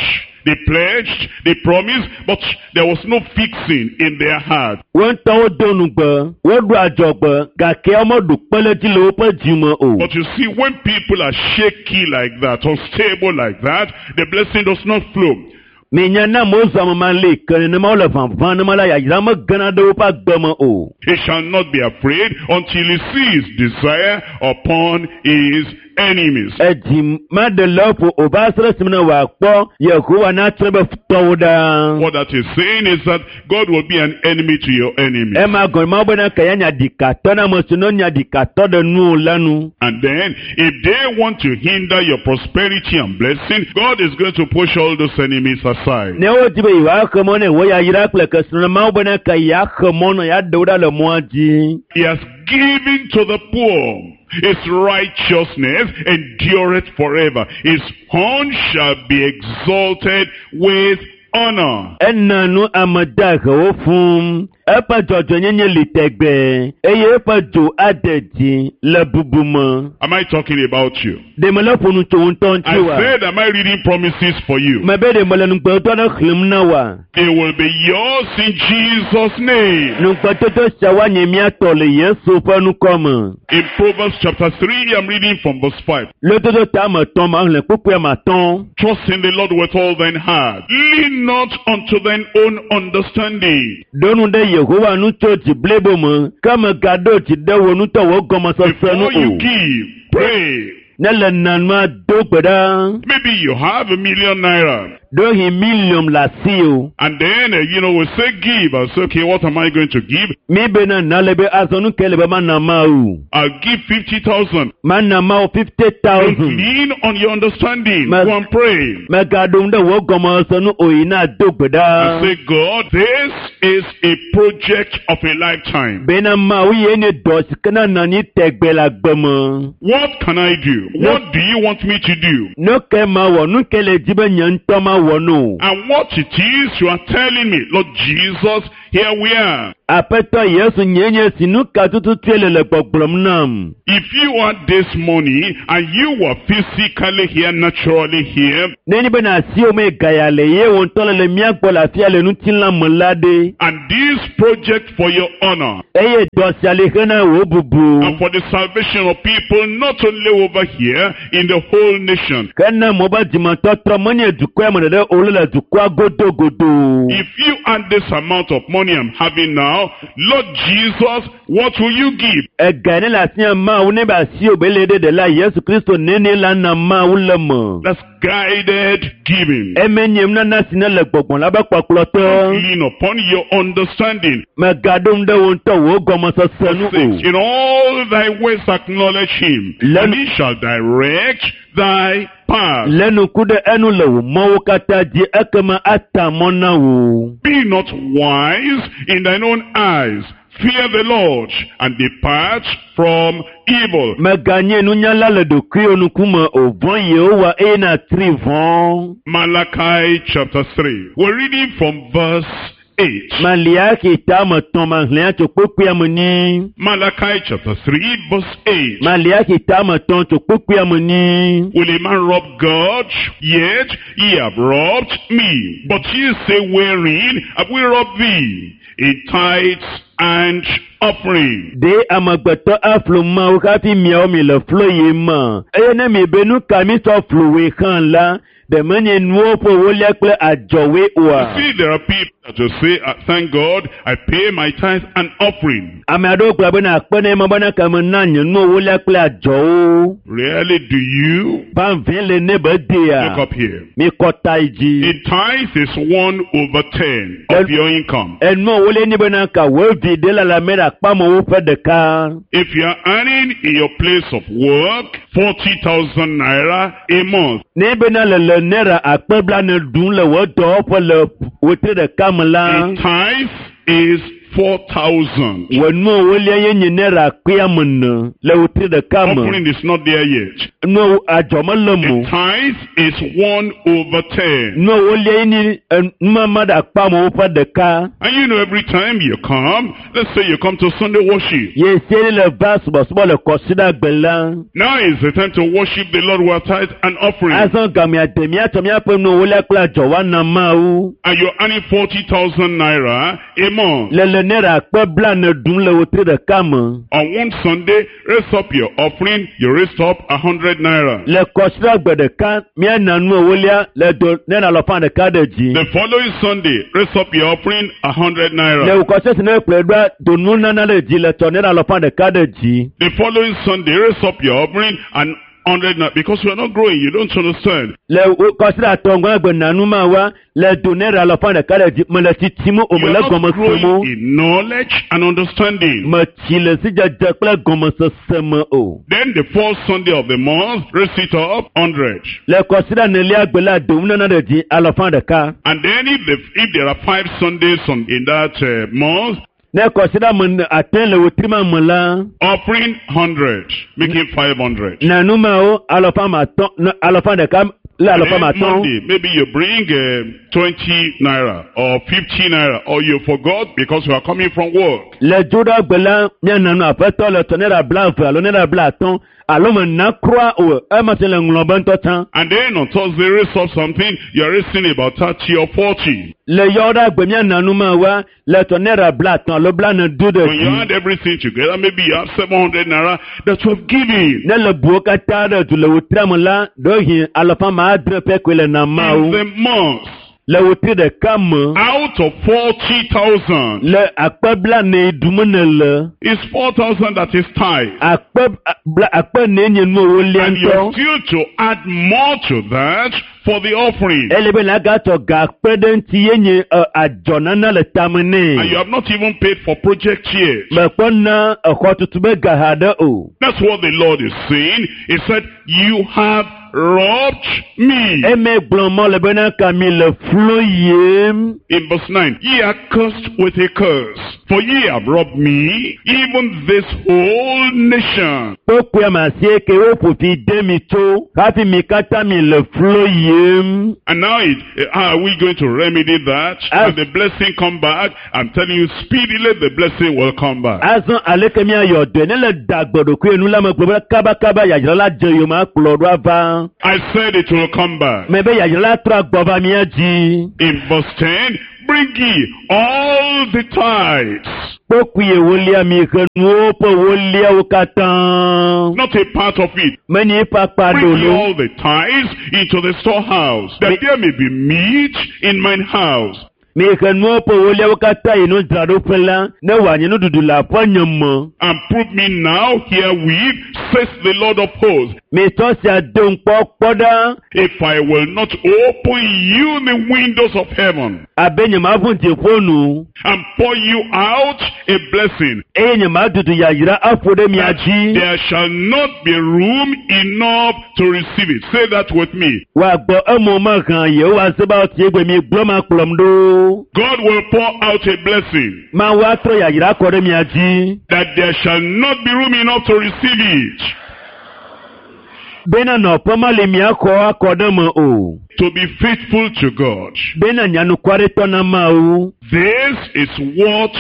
they pledged, they promised, but there was no fixing in their heart. Wo ŋutɔwo do nugbe, woɖo adzɔgbe gake womeɖu kpe ɖe edzi le woƒe dzime o. But you see, when people are shaky like that, unstable like that, the blessing does not flow. Minya na amewo zɔ ame ma li ke nenema wole ʋaʋã nema la yayra megena ɖe woƒe agbe me o. He shall not be afraid until he sees desire upon his enemies. Edzi maɖe le eƒo o va se ɖe esime ne wòakpɔ Yehowa natsrɔ̃ eƒe futɔwo ɖa. What that is saying is that God will be an enemy to your enemy. Ema gɔme Mawu bena ke ya nya ɖikatɔ na ame si ne nya ɖikatɔ ɖe nu o la nu. And then, if they want to hinder your prosperity and blessing, God is going to push all those enemies aside. Ne wodi be yewoaxe mɔ ne wo yayra kple kesinɔnɔ Mawu bena ke yeaxe mɔ nɔ yeaɖe wo ɖa le mɔa dzi. He has given to the poor. His righteousness endureth forever. His horn shall be exalted with honor. Ena nu ame dahewo fũu. Eƒe dzɔdzɔenyenye li tegbee eye eƒe dzo ade dzi le bubu me. Am I talking about you? Ɖe mele ƒo nu tso wo ŋutɔ I ŋuti wa? said, am I reading promises for you? Mebe ɖe mele nugbedodo aɖe xlẽm na wa? They will be yours in Jesus' name. Nugbedodo sia woanye mía tɔ le Yesu ƒe ŋkɔ me. In Proverbs chapter three, I'm reading from verse five. Lododo ta ame etɔ̃ ma xlẽ kpukpui ame atɔ̃. Trust in the Lord with all thine heart. Lean not unto thine own understanding. Ɖo nu ɖe Yehowa nu tso dzi blibo me ke megaɖo dzi ɖe wò ŋutɔ wò gɔmesese nu Before you o. give, pray. Ne le nanua do gbe ɖa. Maybe you have a million naira. Ɖewohĩ miliɔn le asi o. And then, uh, you know, we say give. I say, okay, what am I going to give? Mi bena na le be azɔ nu ke le be mana Mawu. I'll give fifty thousand. Mana Mawu fifty Don't thousand. lean on your understanding. Ma- Go and pray. Megaɖo ŋu ɖe wò gɔmesese nu o yi na do gbe And ɖa. say, God, this is a project of a lifetime. Bena Mawu ye nye dɔ si ke na nɔ anyi tegbe le agbe me. What can I do? What do you want me to do? Nu ke mawɔ, nu ke le dzi be nye ŋutɔ mawɔ no. And what it is you are telling me, Lord Jesus, here we are. Aƒetɔ Yesu nye nye si nu ka tututue le le gbɔgblɔm nam. If you are this money and you were physically here, naturally here, Ne nye bena asiwò me gaya le ye wò ŋutɔ le le mía gbɔ le afia le ŋutilã me la ɖe. And this project for your honor Eye dɔ sia li hena wò bubu. And for the salvation of people, not only over here, in the whole nation. Ke ne mo be dzimetɔtrɔ menye dukɔa me ɖeɖe o le le dukɔa godogodo. If you add this amount of money I'm having now, Lord Jesus, what will you give? Ega ne le asinye Mawu ne be asiwò be le ɖe ɖe la Yesu Kristo nene la na Mawu le me. That's guided giving. Eme nye nunana si ne le gbɔgbɔ la be kpɔkplɔtɔ. Lean upon your understanding. Megaɖo ŋu ɖe wò ŋutɔ wò gɔmesese nu Six, o. in all thy ways acknowledge him, Let- and he shall direct thy path. Lé ŋku ɖe enu le wò mɔwo katã dzi ekema ata mɔ na wò. Be not wise in thine own eyes. Fear the Lord and depart from evil. Meganye nunyala le ɖokuiwò ŋkume o vɔ̃ Yehowa eye nàtri vɔ̃. Malachi chapter three. We're reading from verse eight. Maliaki ta me tɔ̃ maxlẽa tso kpukpuia me nyi. Malachi chapter three, verse eight. Maliaki ta me tɔ̃ tso kpukpuia me nyi. Will a man rob God? Yet ye have robbed me. But ye say, wherein have we robbed thee? In tithes and offering. Ɖe amegbetɔ aflu Mawu hafi miawo mi le flo yi me. Eye ne mi be nu ka mi sɔ fluwoe hã la, ɖe menye nuwo ƒe wolia kple adzɔwoe oa? See, there are people that will say, "Ah, thank God, I pay my tithes and offering." Ame aɖewo gblɔ bena akpe ne ma bena ke me na nye nuwo wolia kple adzɔwo. Really, do you? Vavẽ le ne be dea. Look up here. Mi kɔ ta yi dzi. A tithe is one over ten of your income. Enuwo wolia ni bena ka wo vi ɖe la la me ɖe akpamewo ƒe ɖeka. If you are earning in your place of work forty thousand naira a month, Ne bena le le naira akpe blaene ɖum le wò dɔwɔƒe le wetri ɖeka me la, a tithe is four thousand. Wò nuwo wolia ye nye naira akpe ame ene le wetri ɖeka me. Offering is not there yet. Nuwo adzɔ mele mo. A tithe is one over ten. Nuwo wolia ye nye numama ɖe akpamewo ƒe ɖeka. And you know, every time you come, let's say you come to Sunday worship. Ye sie le va subɔsubɔ le kɔsiɖagbe la. Now is the time to worship the Lord with tithe and offering. Azɔ gamea de míatsɔ míaƒe nuwo wolia kple adzɔ woana Mawu. And you're earning forty thousand naira a month. Le le naira akpe blaene ɖum le wetri ɖeka me. On one Sunday, raise up your offering, you raise up a hundred naira. Le kɔsiɖagbe ɖeka míana nuwo wolia le do naira alafa ɖeka ɖe dzi. The following Sunday, raise up your offering, a hundred Le naira. wòkɔsɛ si ne kplɔe ɖoa do nunana ɖe dzi le tɔ naira alafa ɖeka ɖe dzi. The following Sunday, raise up your offering and hundred naira. Because you are not growing, you don't understand. Le kɔsiɖa tɔŋgɔ gbe nanu ma wa le do naira alafa ɖeka ɖe dzi me le tsitsim o You me are le not gɔme sem growing o. in knowledge and understanding. Me tsi le sidzedze kple gɔmesese me o. Then the fourth Sunday of the month, raise it up, hundred. Le kɔsiɖa nelia gbe la do nunana ɖe dzi alafa ɖeka. And then if, the, if there are five Sundays on, in that uh, month, Ne kɔsiɖa me ate le wetri ma me la, offering hundred, making five hundred. nanu mawo alafa ma atɔ̃ ne alafa ɖeka le alafa ma Then atɔ̃. Monday, maybe you bring uh, twenty naira or fifty naira, or you forgot because you are coming from work. Le dzoɖagbe la míana nu aƒetɔ le tɔ naira blaeve alo naira blaatɔ̃ alo me na kura o ema tse le ŋlɔ be ŋutɔ tsã. And then on Thursday, raise up something, you are raising about thirty or forty. Le yɔɖagbe míana nu ma wa le tɔ naira blaatɔ̃ alo blane du ɖe When you dzi. add everything together, maybe you have seven hundred naira that you have given. Ne le buwo katã ɖe du le wotria me la ɖewohĩ alafa ma adre pɛ koe le na In mawo. the month. Le wotri ɖeka me. Out of forty thousand, Le akpe blaene ɖum ne le. it's four thousand that is tithe. Akpe bla akpe ene nye nu ewolia And you're ŋutɔ. still to add more to that for the offering. Ele be nàgatsɔ ga kpe ɖe ŋuti ye nye ɛ, adzɔnana le tame And you nɛ. have not even paid for project yet. Mekpɔ na exɔtutu be ga haɖe o. That's what the Lord is saying. He said, you have robbed me. Eme gblɔ mɔ le bena ka mi le flo yem. In verse nine, ye are cursed with a curse, for ye have robbed me, even this whole nation. Kpokpoe ma asieke woƒo fi de mi tso hafi mi katã mi le flo yem. And now, it, how are we going to remedy that? As- And the blessing come back? I'm telling you, speedily the blessing will come back. Azɔ aleke miayɔ dɔe ne le da gbe ɖokui nu la me gblɔ be kabakaba yadzra la dze yome akplɔ ɖo ava. I said it will come back. Me be yadzra la trɔ agbɔ va mía dzi. In verse ten, bring ye all the tithes, Kpokpui ewolia mi he nuwo ƒe woliawo katã. not a part of it. Menye eƒe akpa Bring ye ɖolo. all the tithes into the storehouse, that Me- there may be meat in mine house. Mi he nuwo ƒe woliawo katã yi nudzraɖoƒe la ne wòanye nuɖuɖu le aƒenye me. And prove me now herewith, says the Lord of hosts, Mi tsɔ sia do ŋkpɔ kpɔ ɖa if I will not open you the windows of heaven abe nyemaʋu dziƒo nu and pour you out a blessing, eye nyemadudu yayra aƒo ɖe mia dzi. there shall not be room enough to receive it. Say that with me. Wòagbɔ emo mehã Yehowa Zebaot ye gbe mi gblɔ ma kplɔm ɖo. God will pour out a blessing Mawu atrɔ yayra kɔ ɖe mia dzi. that there shall not be room enough to receive it. Bena nɔƒe meli miaxɔ akɔ ɖe me o. To be faithful to God. Bena nyanukwaretɔ na Mawu. This is what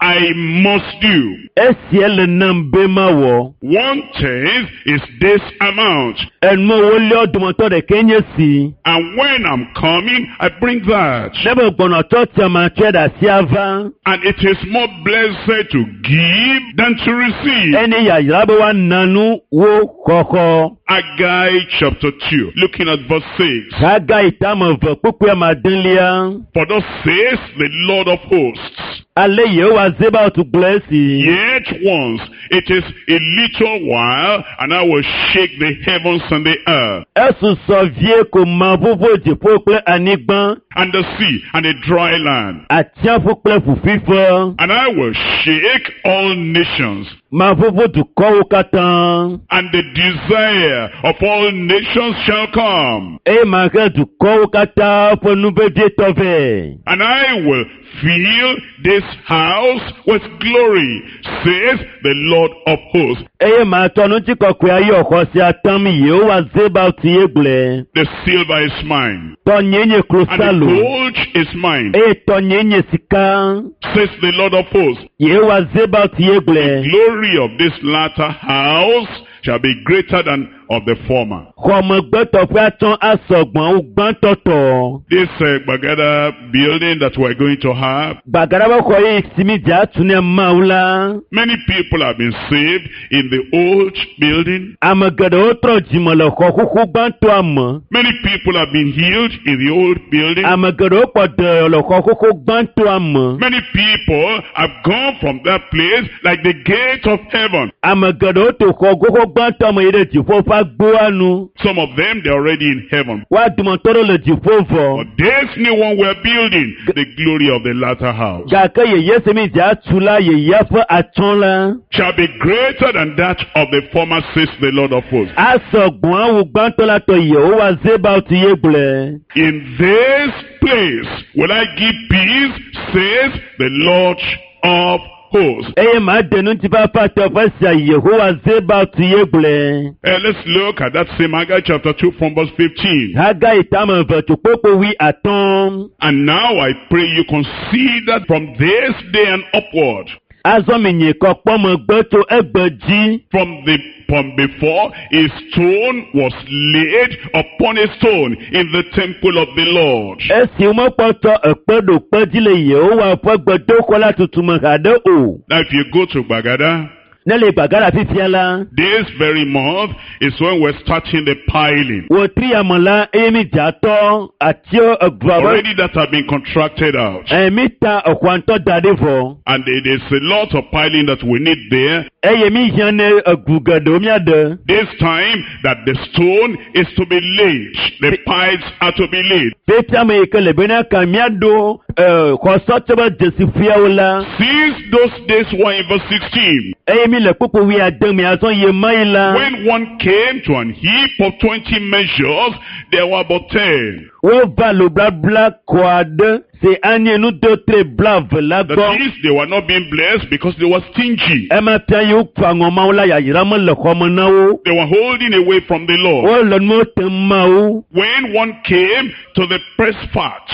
I must do. Esia le nam be mawɔ. One tenth is this amount. Enu woliawo dometɔ ɖekae nye si. And when I'm coming, I bring that. Ne be gbɔnɔ tsɔtsia ma tsɔe ɖe asi ava. And it is more blessed to give than to receive. Ene yayra be woana nu wo xɔxɔ. Haggai chapter two, looking at verse six. Hagai tame eve kpukpui ame adelia. For thus says the Lord of hosts, Ale Yehowa Zebaot gblɔ esi. yet once it is a little while, and I will shake the heavens and the earth, Esusɔ vie ko maʋuʋu dziƒo kple anyigba, and the sea and the dry land. atsiaƒu kple ƒuƒuiƒe. And I will shake all nations, Maʋuʋu dukɔwo katã. and the desire of all nations shall come. Eye mahe dukɔwo katã ƒe nu vevietɔ vɛ. And I will fill this house with glory, says the Lord of hosts. Eye matsɔ ŋutikɔkɔe ayɔ xɔ sia tam Yehowa Zebaot ye gblɔe. The silver is mine, Tɔnye nye and the klosalo gold is mine, eye tɔnye nye sika. says the Lord of hosts. Yehowa Zebaot ye gblɔe. Glory of this latter house shall be greater than of the former. Xɔmegbetɔ ƒe atɔ asɔgbɔn wu gbãtɔ tɔ. This uh, Bagada building that we're going to have, Gbagada be xɔ yi si mi dze atu ne Mawu la. many people have been saved in the old building. Ame geɖewo trɔ dzime le xɔ xoxo gbãtɔa me. Many people have been healed in the old building. Ame geɖewo kpɔ dɔyɔ le xɔ xoxo gbãtɔa me. Many people have gone from that place like the gate of heaven. Ame geɖewo to xɔ xoxo gbãtɔa me yi ɖe dziƒo ƒe agboa nu. Some of them, they're already in heaven. Woa dometɔ ɖewo le dziƒo vɔ. But this new one we're building, the glory of the latter house, Gake yeye si mi dze atu la yeyea ƒe atsyɔ̃ la shall be greater than that of the former, says the Lord of hosts. asɔgbɔn awu gbãtɔ la tɔ Yehowa Zebaot ye gblɔe. In this place will I give peace, says the Lord of hosts. Eye maɖe ŋutifafa teƒe sia Yehowa Zebaot ye gblɔe. Uh, let's look at that same Haggai chapter two from verse fifteen. Hagai tame eve tso kpokpo wui atɔ̃. And now I pray you consider from this day and upward, Azɔ mi nye kɔ kpɔ megbe tso egbe dzi. from the from before a stone was laid upon a stone in the temple of the Lord. Esi womekpɔtɔ ekpe ɖo kpe dzi le Yehowa ƒe gbedoxɔ la tutu me haɖe o. Now if you go to Bagada, Ne le gbagã le fifia la. This very month is when we're starting the piling. Wòtri ame la eye mi dzatɔ atiwo egblɔ be. Already that have been contracted out. Ɛ mi ta exɔa da ɖi vɔ. And it is a lot of piling that we need there. Eye mi hiã ne egu geɖewo míaɖe. This time that the stone is to be laid, the piles are to be laid. Fifia me yi ke le bena ka míaɖo ɛ xɔsɔtɔ be dzesifiawo la. Since those days were in verse sixteen, Eye mi le kpukpu wuiade me azɔ yi ma yi la. when one came to an heap of twenty measures, there were but ten. Wova loblabla kɔ aɖe si anye nudotre blaeve la That gbɔ. is, they were not being blessed because they were stingy. Ema fia yi woku aŋɔ mawo la yayra mele xɔme na wo. They were holding away from the Lord. Wole nuwo tem mawo. When one came to the press fat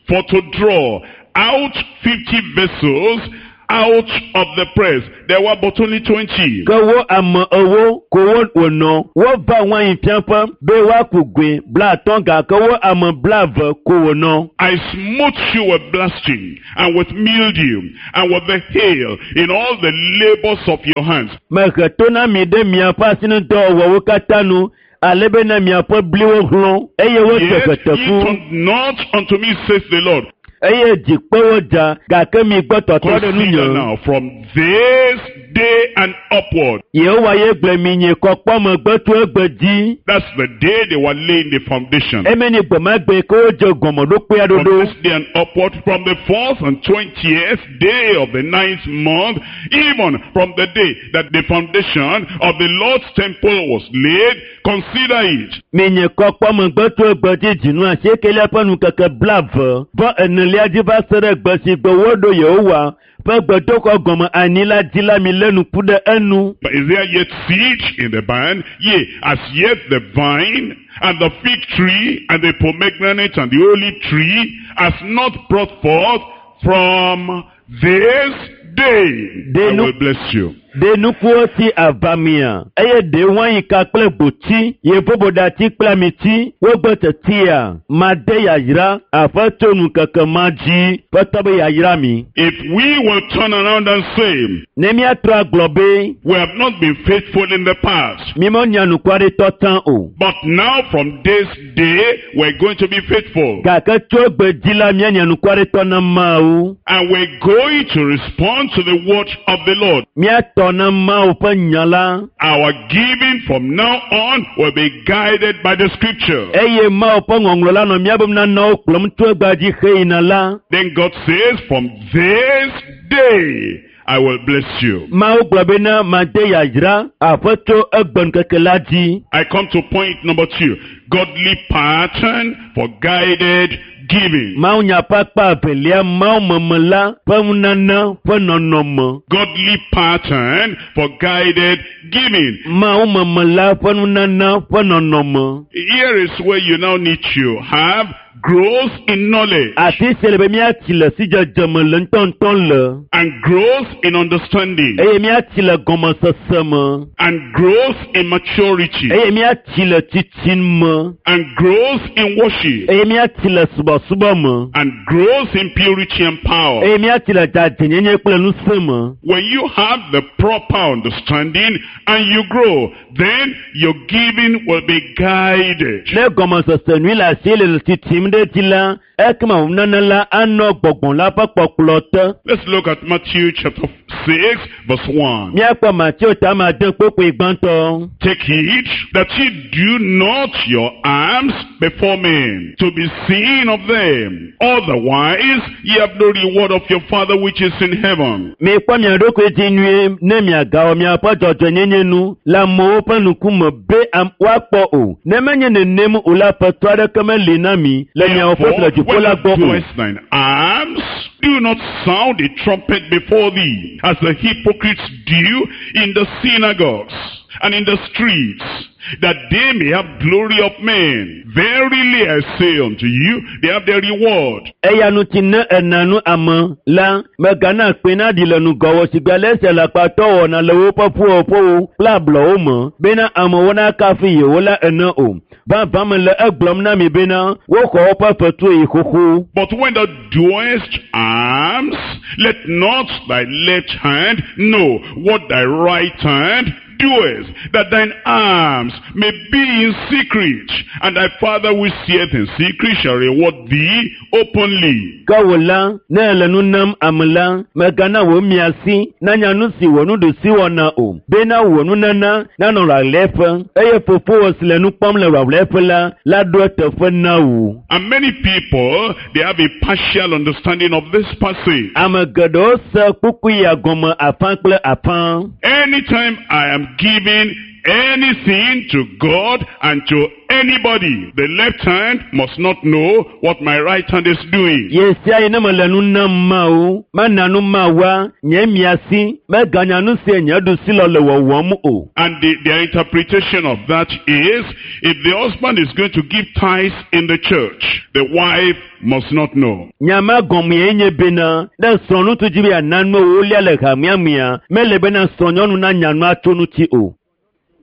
for to draw out fifty vessels out of the press, there were but only twenty. Ke wo ame ewo ko wo wònɔ. Wova wain fiaƒe be woaku goe blaatɔ̃ gake wo ame blaeve ko wònɔ. I smote you with blasting and with mildew and with the hail in all the labors of your hands. Mehe to na mi ɖe miaƒe asinudɔwɔwɔwo katã nu ale bena miaƒe bliwo hlɔ̃ eye wote Yet ye ʋeteku turned not unto me, says the Lord. eye dzikpewo dza gake mi gbɔ tɔtrɔ ɖe Consider nunye. now from this day and upward. Yehowa ye gblɔ mi nye kɔkpɔ megbe tso egbe dzi. That's the day they were laying the foundation. Eme nye gbemagbe ke wodze gɔmeɖokpea From ɖoɖo. this day and upward, from the fourth and twentieth day of the ninth month, even from the day that the foundation of the Lord's temple was laid, consider it. Mi nye kɔkpɔ megbe tso egbe dzi dzinu asiekelia ƒe nukeke blaeve vɔ enelia dzi va se ɖe gbe si gbe woɖo Yehowa ƒe gbedoxɔ gɔme anyi la dzi la mi lé nuku ɖe enu. But is there yet seed in the barn? Yea, as yet the vine and the fig tree and the pomegranate and the olive tree has not brought forth from this day. They I no- will bless you. Ɖe nukuwo si avamia eye ɖe wainka kple gboti, yevoboɖati kple amiti wogbe tetia made yayra aƒe tso nukeke ma dzi ƒetɔ be yayra mi. If we will turn around and say, Ne míatrɔ agblɔ be we have not been faithful in the past, mímenya nukwaɖitɔ tsã o. but now from this day we're going to be faithful. Gake tso egbe dzi la míanya nukwaɖitɔ na Mawu. And we're going to respond to the word of the Lord. Míatɔ na Mawu ƒe nya la. Our giving from now on will be guided by the scripture. Eye Mawu ƒe ŋɔŋlɔ la nɔ míabe nanawo kplɔm tso egbea dzi heyina la. Then God says, from this day I will bless you. Mawu gblɔ bena made yayra aƒe tso egbe ŋkeke la dzi. I come to point number two. Godly pattern for guided giving. Mawu nya ƒe akpa evelia Mawu meme la ƒe nunana ƒe nɔnɔme. Godly pattern for guided giving. Mawu meme la ƒe nunana ƒe nɔnɔme. Here is where you now need to have growth in knowledge Afi sia le be míatsi le sidzedze me le ŋutɔŋutɔ le. and growth in understanding Eye míatsi le gɔmesese me. and growth in maturity Eye míatsi le tsitsi me. and growth in worship Eye míatsi le subɔsubɔ me. and growth in purity and power. Eye míatsi le dzadzɛnyenye kple ŋusẽ me. When you have the proper understanding and you grow, then your giving will be guided. Ne gɔmesese nyui le asi le tsitsim ɖe dzi la, ekema nunana la anɔ gbɔgbɔ la ƒe kpɔkplɔ te. Let's look at Matthew chapter six, verse one. Míakpɔ Mateo ta ame ade kpokpoe gbãtɔ. Take heed that ye do not your alms before men, to be seen of them. Otherwise, ye have no reward of your Father which is in heaven. Mikpɔ mia ɖokui dzi nyuie ne miagawɔ miaƒe dzɔdzɔenyenye nu le amewo ƒe ŋkume be am woakpɔ o. Ne menye nenem o la, ƒetɔ aɖeke meli na mi le miawo ƒe le Therefore, dziƒo when la thou gbɔ o. doest thine alms, do not sound a trumpet before thee, as the hypocrites do in the synagogues and in the streets, that they may have glory of men. Verily I say unto you, they have their reward. Eya ŋuti ne ena nu ame la, mègana kpẽ naɖi le ŋgɔwò sigbe ale si alakpatɔ wɔna le woƒe ƒuƒoƒowo kple ablɔwo me bena amewo nakafu yewo la ene o. Vavã mele egblɔm na mi bena woxɔ woƒe fetu yi xoxo. But when thou doest alms, let not thy left hand know what thy right hand doeth, that thine alms may be in secret, and thy Father which seeth in secret shall reward thee openly. Ke wò la, ne èle nu nam ame la, mègana wò miasi nanya nu si wò nuɖusi wɔna o, bena wò nunana nanɔ ɣaɣlɛƒe eye fofowò si le nu kpɔm le ɣaɣlɛƒe la la ɖo eteƒe na wò. And many people, they have a partial understanding of this passage. Ame geɖewo se kpukpui ya gɔme afã kple afã. Anytime I am giving anything to God and to anybody, the left hand must not know what my right hand is doing. Ye sia yi ne mele nu nam Mawu, mena nu Mawua, nye miasi meganya nu si nye ɖusilɔ le wɔwɔm o. And the, their interpretation of that is, if the husband is going to give tithes in the church, the wife must not know. Nya ma gɔmee nye bena ne srɔ̃ŋutsu dzi be yeana nu ewolia le hamea mea, mele bena srɔ̃nyɔnu nanya nua tso ŋuti o.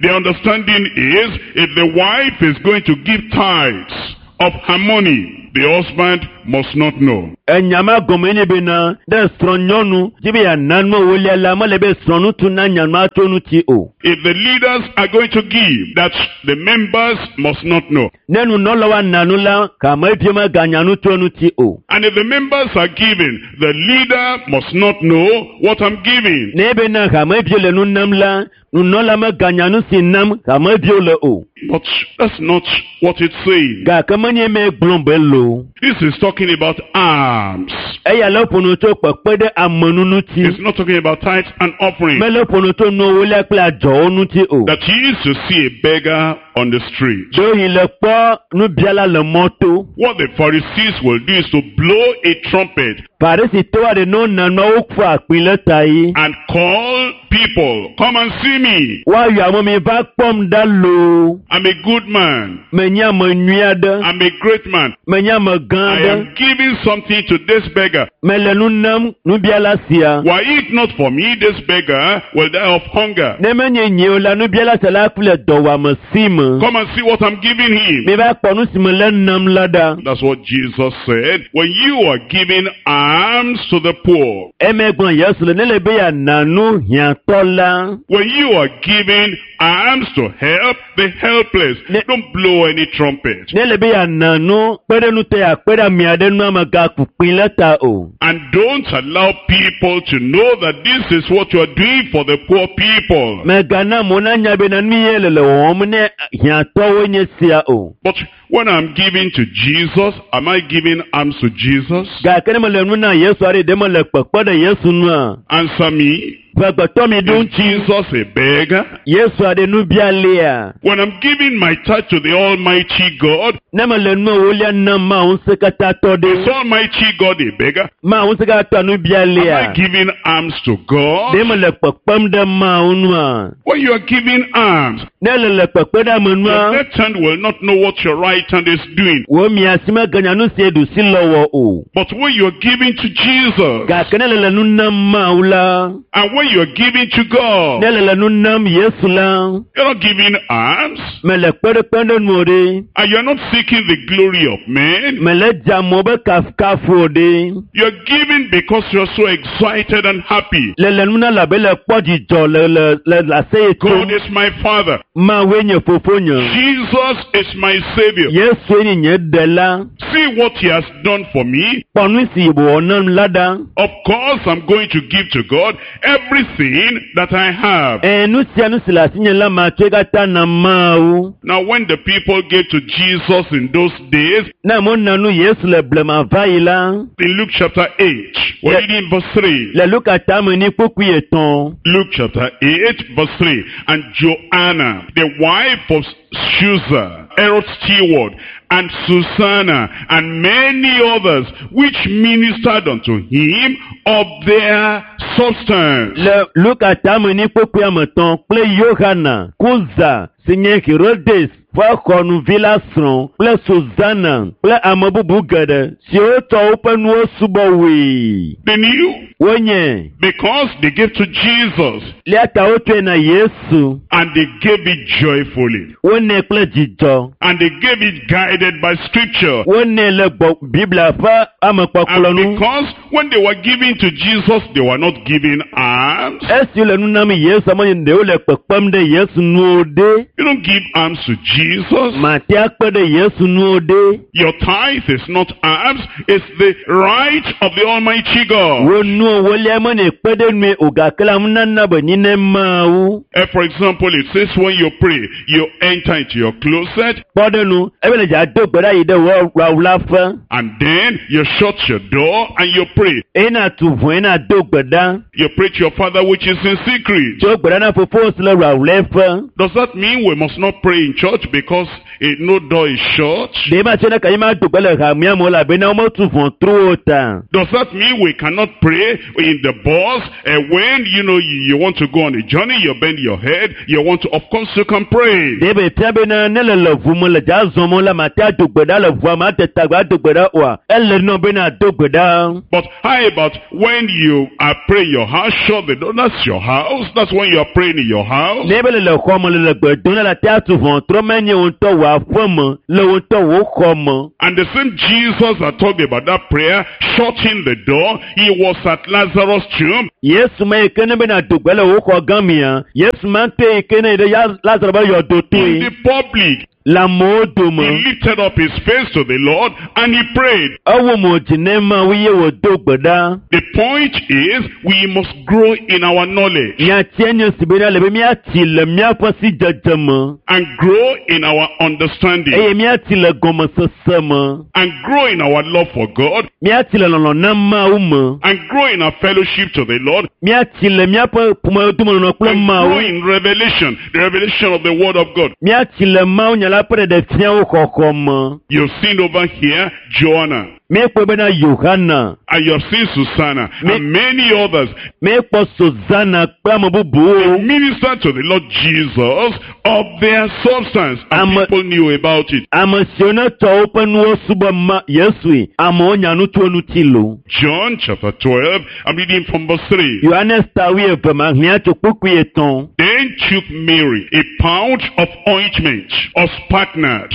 The understanding is, if the wife is going to give tithes of her money, the husband must not know. Enya ma gɔmee nye bena ne srɔ̃nyɔnu dzi be yeana nu ewolia la, mele be srɔ̃ŋutsu nanya nua tso ŋuti o. If the leaders are going to give, that the members must not know. Ne nunɔlawo ana nu la, hameviwo meganya nu tso ŋuti o. And if the members are giving, the leader must not know what I'm giving. Ne bena hameviwo le nu nam la, nunɔla meganya nu si nam hameviwo le o. But that's not what it's saying. Gake menye eme gblɔm be lo. This is talking about alms. Eya le ƒo nu tso kpekpe ɖe ame nu ŋuti. It's not talking about tithes and offering. Mele ƒo nu tso nuwolia kple adzɔwo ŋuti o. That he used to see a beggar on the street. Ɖewohĩ le kpɔ nubiala le mɔto. What the Pharisees will do is to blow a trumpet Farisitɔwo aɖe ne wona nua woƒoa akpĩ le ta yi. and call people, come and see me. Woayɔ ame mi va kpɔm ɖa loo. I'm a good man. Menye ame nyui aɖe. I'm a great man. Menye ame gã I aɖe. am giving something to this beggar. Mele nu nam nubiala sia. Were it not for me, this beggar will die of hunger. Ne menye nye o la, nubiala sia la ku le dɔwɔame si me. Come and see what I'm giving him. Mi va kpɔ nu si mele nam la ɖa. That's what Jesus said. When you are giving alms to the poor, Eme gblɔ Yesu le ne le be yeana nu hiãtɔ la. when you are giving alms to help the helpless, Ne- don't blow any trumpet. Ne le be yeana nu kpe ɖe nutɔ yeakpe ɖe ame aɖe nu amegaku kpĩ le ta o. And don't allow people to know that this is what you are doing for the poor people. Mègana amewo nanya bena nu ye le le wɔwɔm ne hiãtɔwoe nye sia o. But when I'm giving to Jesus, am I giving alms to Jesus? Gake ne mele nu na Yesu aɖe ɖe mele kpekpe ɖe Yesu nua, Answer me. ƒegbetɔ mi ɖo Is ŋuti. Jesus a beggar? Yesu aɖe nubialea. When I'm giving my tithe to the Almighty God, Ne mele nu ewolia nam Mawu ŋusẽkatãtɔ is ɖe, Almighty God a beggar? Mawu ŋusẽkatãtɔa Am I nubialea. giving alms to God? Ɖe mele kpekpem ɖe Mawu nua? When you are giving alms, Ne le le kpekpe ɖe ame your nua, left hand will not know what your right hand is doing. wò miasi meganya nu si ɖusi lɔ wɔ o. But when you are giving to Jesus, Gake ne le le nu nam Mawu la, and when you are giving to God, ne le le nu nam Yesu la, you're not giving alms, mele kpeɖekpe ɖe nu o ɖe. and you're not seeking the glory of men. Mele dze amewo be kafukafu o ɖe. You're giving because you're so excited and happy. Le le nu na labe le kpɔ dzidzɔ le le le le aseye God tsom. is my Father. Mawue nye fofonye. Jesus is my Savior. Yesue nye nye ɖela. See what He has done for me. Kpɔ nu si wòwɔ nam la ɖa. Of course, I'm going to give to God everything that I have. Ɛ nu sia nu si le asinye la matsɔe katã na Mawu. Now, when the people gave to Jesus in those days, Ne amewo na nu Yesu le blema va yi la, in Luke chapter eight, we're Yeah. reading verse three. le Luka tame ni kpukpui etɔ̃. Luke chapter eight, verse three. And Joanna, the wife of Susa, Herod's steward, and Susanna, and many others, which ministered unto him of their substance. Le Luka tame ni kpukpui ame etɔ̃ kple Yohana, Kuza, si nye Herodes ƒe xɔnuvi la srɔ̃ kple Susana kple ame bubu geɖe siwo tsɔ woƒe nuwo subɔ woe. They knew Wonye because they gave to Jesus lia ta wotsɔe na Yesu. and they gave it joyfully Wonɛ kple dzidzɔ. and they gave it guided by scripture. Wonɛ le gbɔ Biblia ƒe amekpɔkplɔ And nu. because when they were giving to Jesus, they were not giving alms. Esi wole nu nam Yesu ame ɖewo le kpekpem ɖe Yesu nuwo ɖe. You don't give alms to Jesus. Mate akpe ɖe Yesu nuwo ɖe. Your tithe is not alms, it's the right of the Almighty God. Wo nuwo wolia me ne kpe ɖe nue o gake la nunana be nyi ne Mawu. Eh, for example, it says when you pray, you enter into your closet Kpɔ ɖe nu ebe le dza do gbe ɖa yi ɖe wò wawlaƒe. and then you shut your door and you pray. Eye na tu ʋɔe na do gbe ɖa. You pray to your father which is in secret. Tso gbe ɖa na fofowò si le wawlaƒe. Does that mean we must not pray in church because eh, no door is shut? Ɖe ma tse ne ka yi ma do gbe le hamea me o elabena wometu ʋɔtruwo o ta. Does that mean we cannot pray in the bus? Eh, when you know you, you want to go on a journey, you bend your head, you want to, of course you can pray. Ɖe be fia bena ne le le ʋu me le dza zɔm la mate ado gbe ɖa le ʋua me ate tagba ado gbe ɖa oa ele nɔ bena ado gbe ɖa. But how about when you are praying your house, shut the door, that's your house, that's when you are praying in your house. Ne be le le xɔ me le le gbe dom ɖa la te atu ʋɔtru menye wo ŋutɔ wò aƒe me le wo ŋutɔ wò xɔ me. And the same Jesus that talked about that prayer, shutting the door, he was at Lazarus' tomb. Yesu ma yi ke ne bena do gbe le wò xɔ gã mea Yesu ma ŋutɔe yi ke ne yi ɖe Ya- Lazaro be yɔdo In toe the public, le amewo he dome. lifted up his face to the Lord and he prayed. Ewo mo dzi ne Mawu ye wòdo gbe ɖa. The point is, we must grow in our knowledge Nyatia nye si bena le be míatsi le míaƒe sidzedze me and grow in our understanding eye míatsi le gɔmesese me. and grow in our love for God Míatsi le lɔlɔ̃ na Mawu me. and grow in our fellowship to the Lord Míatsi le míaƒe ƒomedomenɔnɔ kple and grow Mawu. in revelation, the revelation of the Word of God. Míatsi le Mawu nya la ƒe ɖeɖefiawo xɔxɔ me. You've seen over here Joanna Míekpɔ bena Yohana, and you've seen Susanna Me- and many others. míekpɔ Susana kple ame bubuwo. Minister to the Lord Jesus of their substance and I'm a- people knew about it. Ame siwo ne tsɔ woƒe nuwo subɔ ma Yesue, amewo nya nu tso eŋuti lo. John chapter twelve, I'm reading from verse three. Yohanes ta wuieve maxlẽa tso kpukpui etɔ̃. Then took Mary a pound of ointment of spikenard,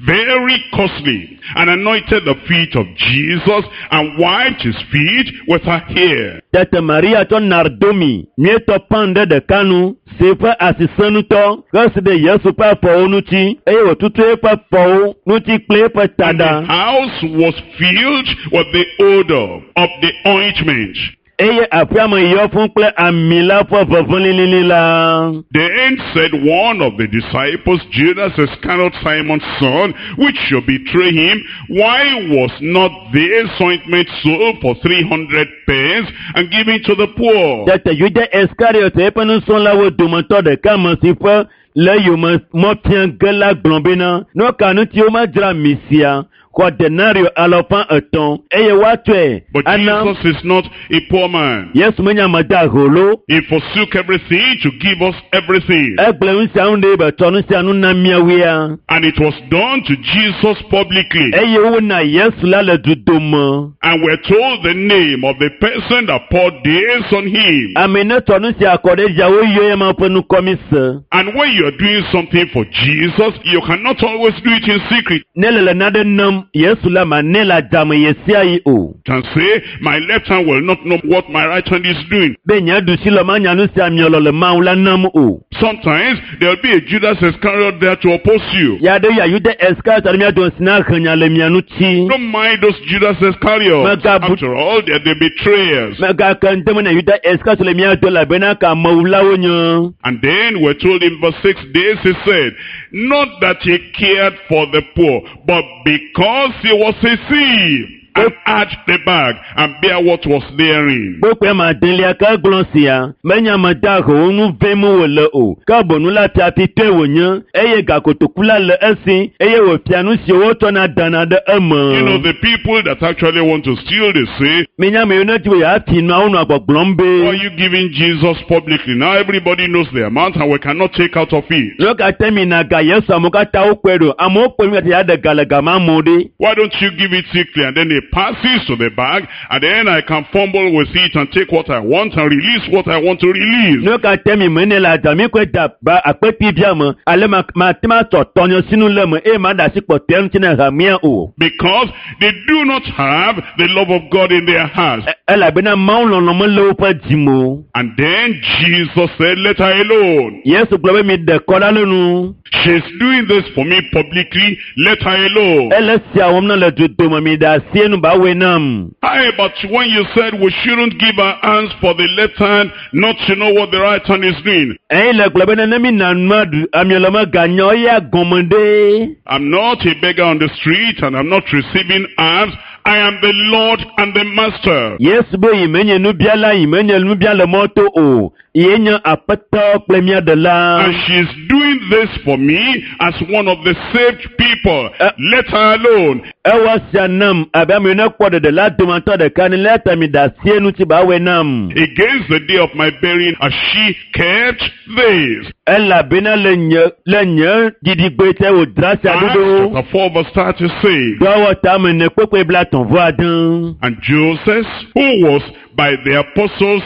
very costly, and anointed the feet of Jesus and wiped his feet with her hair. Tete Maria tsɔ nardomi nyuietɔ pan ɖe ɖeka nu si ƒe asi sẽ ŋutɔ hesi ɖe Yesu ƒe afɔwo ŋuti eye wòtutu eƒe afɔwo ŋuti kple eƒe And the taɖa. house was filled with the odor of the ointment. Eye aƒea me yɔ fũu kple ami la ƒe ʋeʋẽ lilili la. Then said one of the disciples, Judas Iscariot, Simon's son, which should betray him, why was not this ointment sold for three hundred pence and given to the poor? Tete Yuda Iskariot eƒe nusrɔ̃lawo dometɔ ɖeka me si ƒe le yome mɔ fia ge la gblɔ bena, nu ka ŋuti womedzra ami sia xɔ denario alafa etɔ̃ eye woatsɔe But ana Jesus is not a poor man. Yesu menye ame dahe lo. He forsook everything to give us everything. Egblẽ nu sia nu ɖe be tsɔ nu sia nu na míawoea. And it was done to Jesus publicly. Eye wona Yesu la le dudome. And we're told the name of the person that poured this on him. Ame ne tsɔ nu sia kɔ ɖe dzia woyɔ ema ƒe ŋkɔ mi se. And when you're doing something for Jesus, you cannot always do it in secret. Ne le le nane nam Yesu la ma ne le adzame ɣe sia ɣi o. Can say, my left hand will not know what my right hand is doing. Be nye ɖusi le manya nu sia miɔ le Mawu la nam o. Sometimes there'll be a Judas Iscariot there to oppose you. Ya ɖe ya Yuda Iskariot aɖe mía dome si na he nya le mia ŋuti. Don't mind those Judas Iscariots. Megabu- After all, they're the betrayers. Megake ŋdeme na Yuda Iskariot le mía dome elabena ka amewulawo nye. And then we're told in verse six, this he said, not that he cared for the poor, but because he was a thief. and add the bag and bear what was therein. Kpukpui ma adelia ke gblɔ sia menye ame dahewo nu vem wòle o ke bonu la fiafitɔe wònye eye gakotoku la le esi eye wòfia nu siwo wotsɔna dana ɖe eme. You know, the people that actually want to steal, they say, Minya ame yiwo ne di be yeafi nua wonɔa gbɔgblɔm Why are be you giving Jesus publicly? Now everybody knows the amount and we cannot take out of it. nu ka te mi na ga Yesu amewo katã wokpɔe ɖo amewo kpɔe mi ya ɖe ga le gama amewo ɖe. Why don't you give it secretly? And then it passes to the bag, and then I can fumble with it and take what I want and release what I want to release. Nu ka te mi mene le adza mi kɔe da ba akpeti bia me ale ma ma te ma tɔ tɔnye sinu le me eye ma ɖe asi kpɔtɔe ŋuti ne hamea o. Because they do not have the love of God in their hearts. E- elabena Mawu lɔlɔ̃ mele woƒe dzi me o. And then Jesus said, Let her alone. Yesu gblɔ be mi ɖe kɔ ɖa le nu. She's doing this for me publicly. Let her alone. Ele sia wɔm na le dodome mi ɖe asi enu ba wɔe nam. Hi, but when you said we shouldn't give our hands for the left hand, not to know what the right hand is doing. Eyi le gblɔ be ne mi na nua ɖu amia le me ganya eya gɔme ɖe. I'm not a beggar on the street and I'm not receiving alms. I am the Lord and the Master. Yesu be yi menye nubiala yi menye nubia le mɔto o. Ye nye aƒetɔ kple mía ɖela. And she's doing this for me as one of the saved people. Uh, Let her alone. Ewɔ sia nam abe ame yiwo ne kpɔ ɖeɖe la dometɔ ɖeka ne lé ta mi ɖe asi enu ti ba wɔe nam. Against the day of my burying, as she kept this. Elabena le nye le nye didigbe te wòdra sia Acts ɖoɖo. chapter four verse thirty-six. Dɔwɔ tame ne kpekpe blatɔ̃ vɔ ade. And Joseph, who was by the apostles'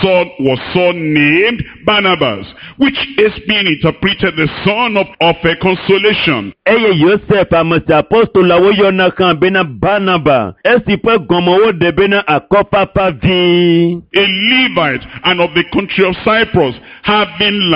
son, was so named Barnabas, which is being interpreted the son of, of a consolation. Eye Yosef ame si apostolawo yɔna hã bena Barnaba esi ƒe gɔme woɖe bena akɔfafa vi. A Levite and of the country of Cyprus, having land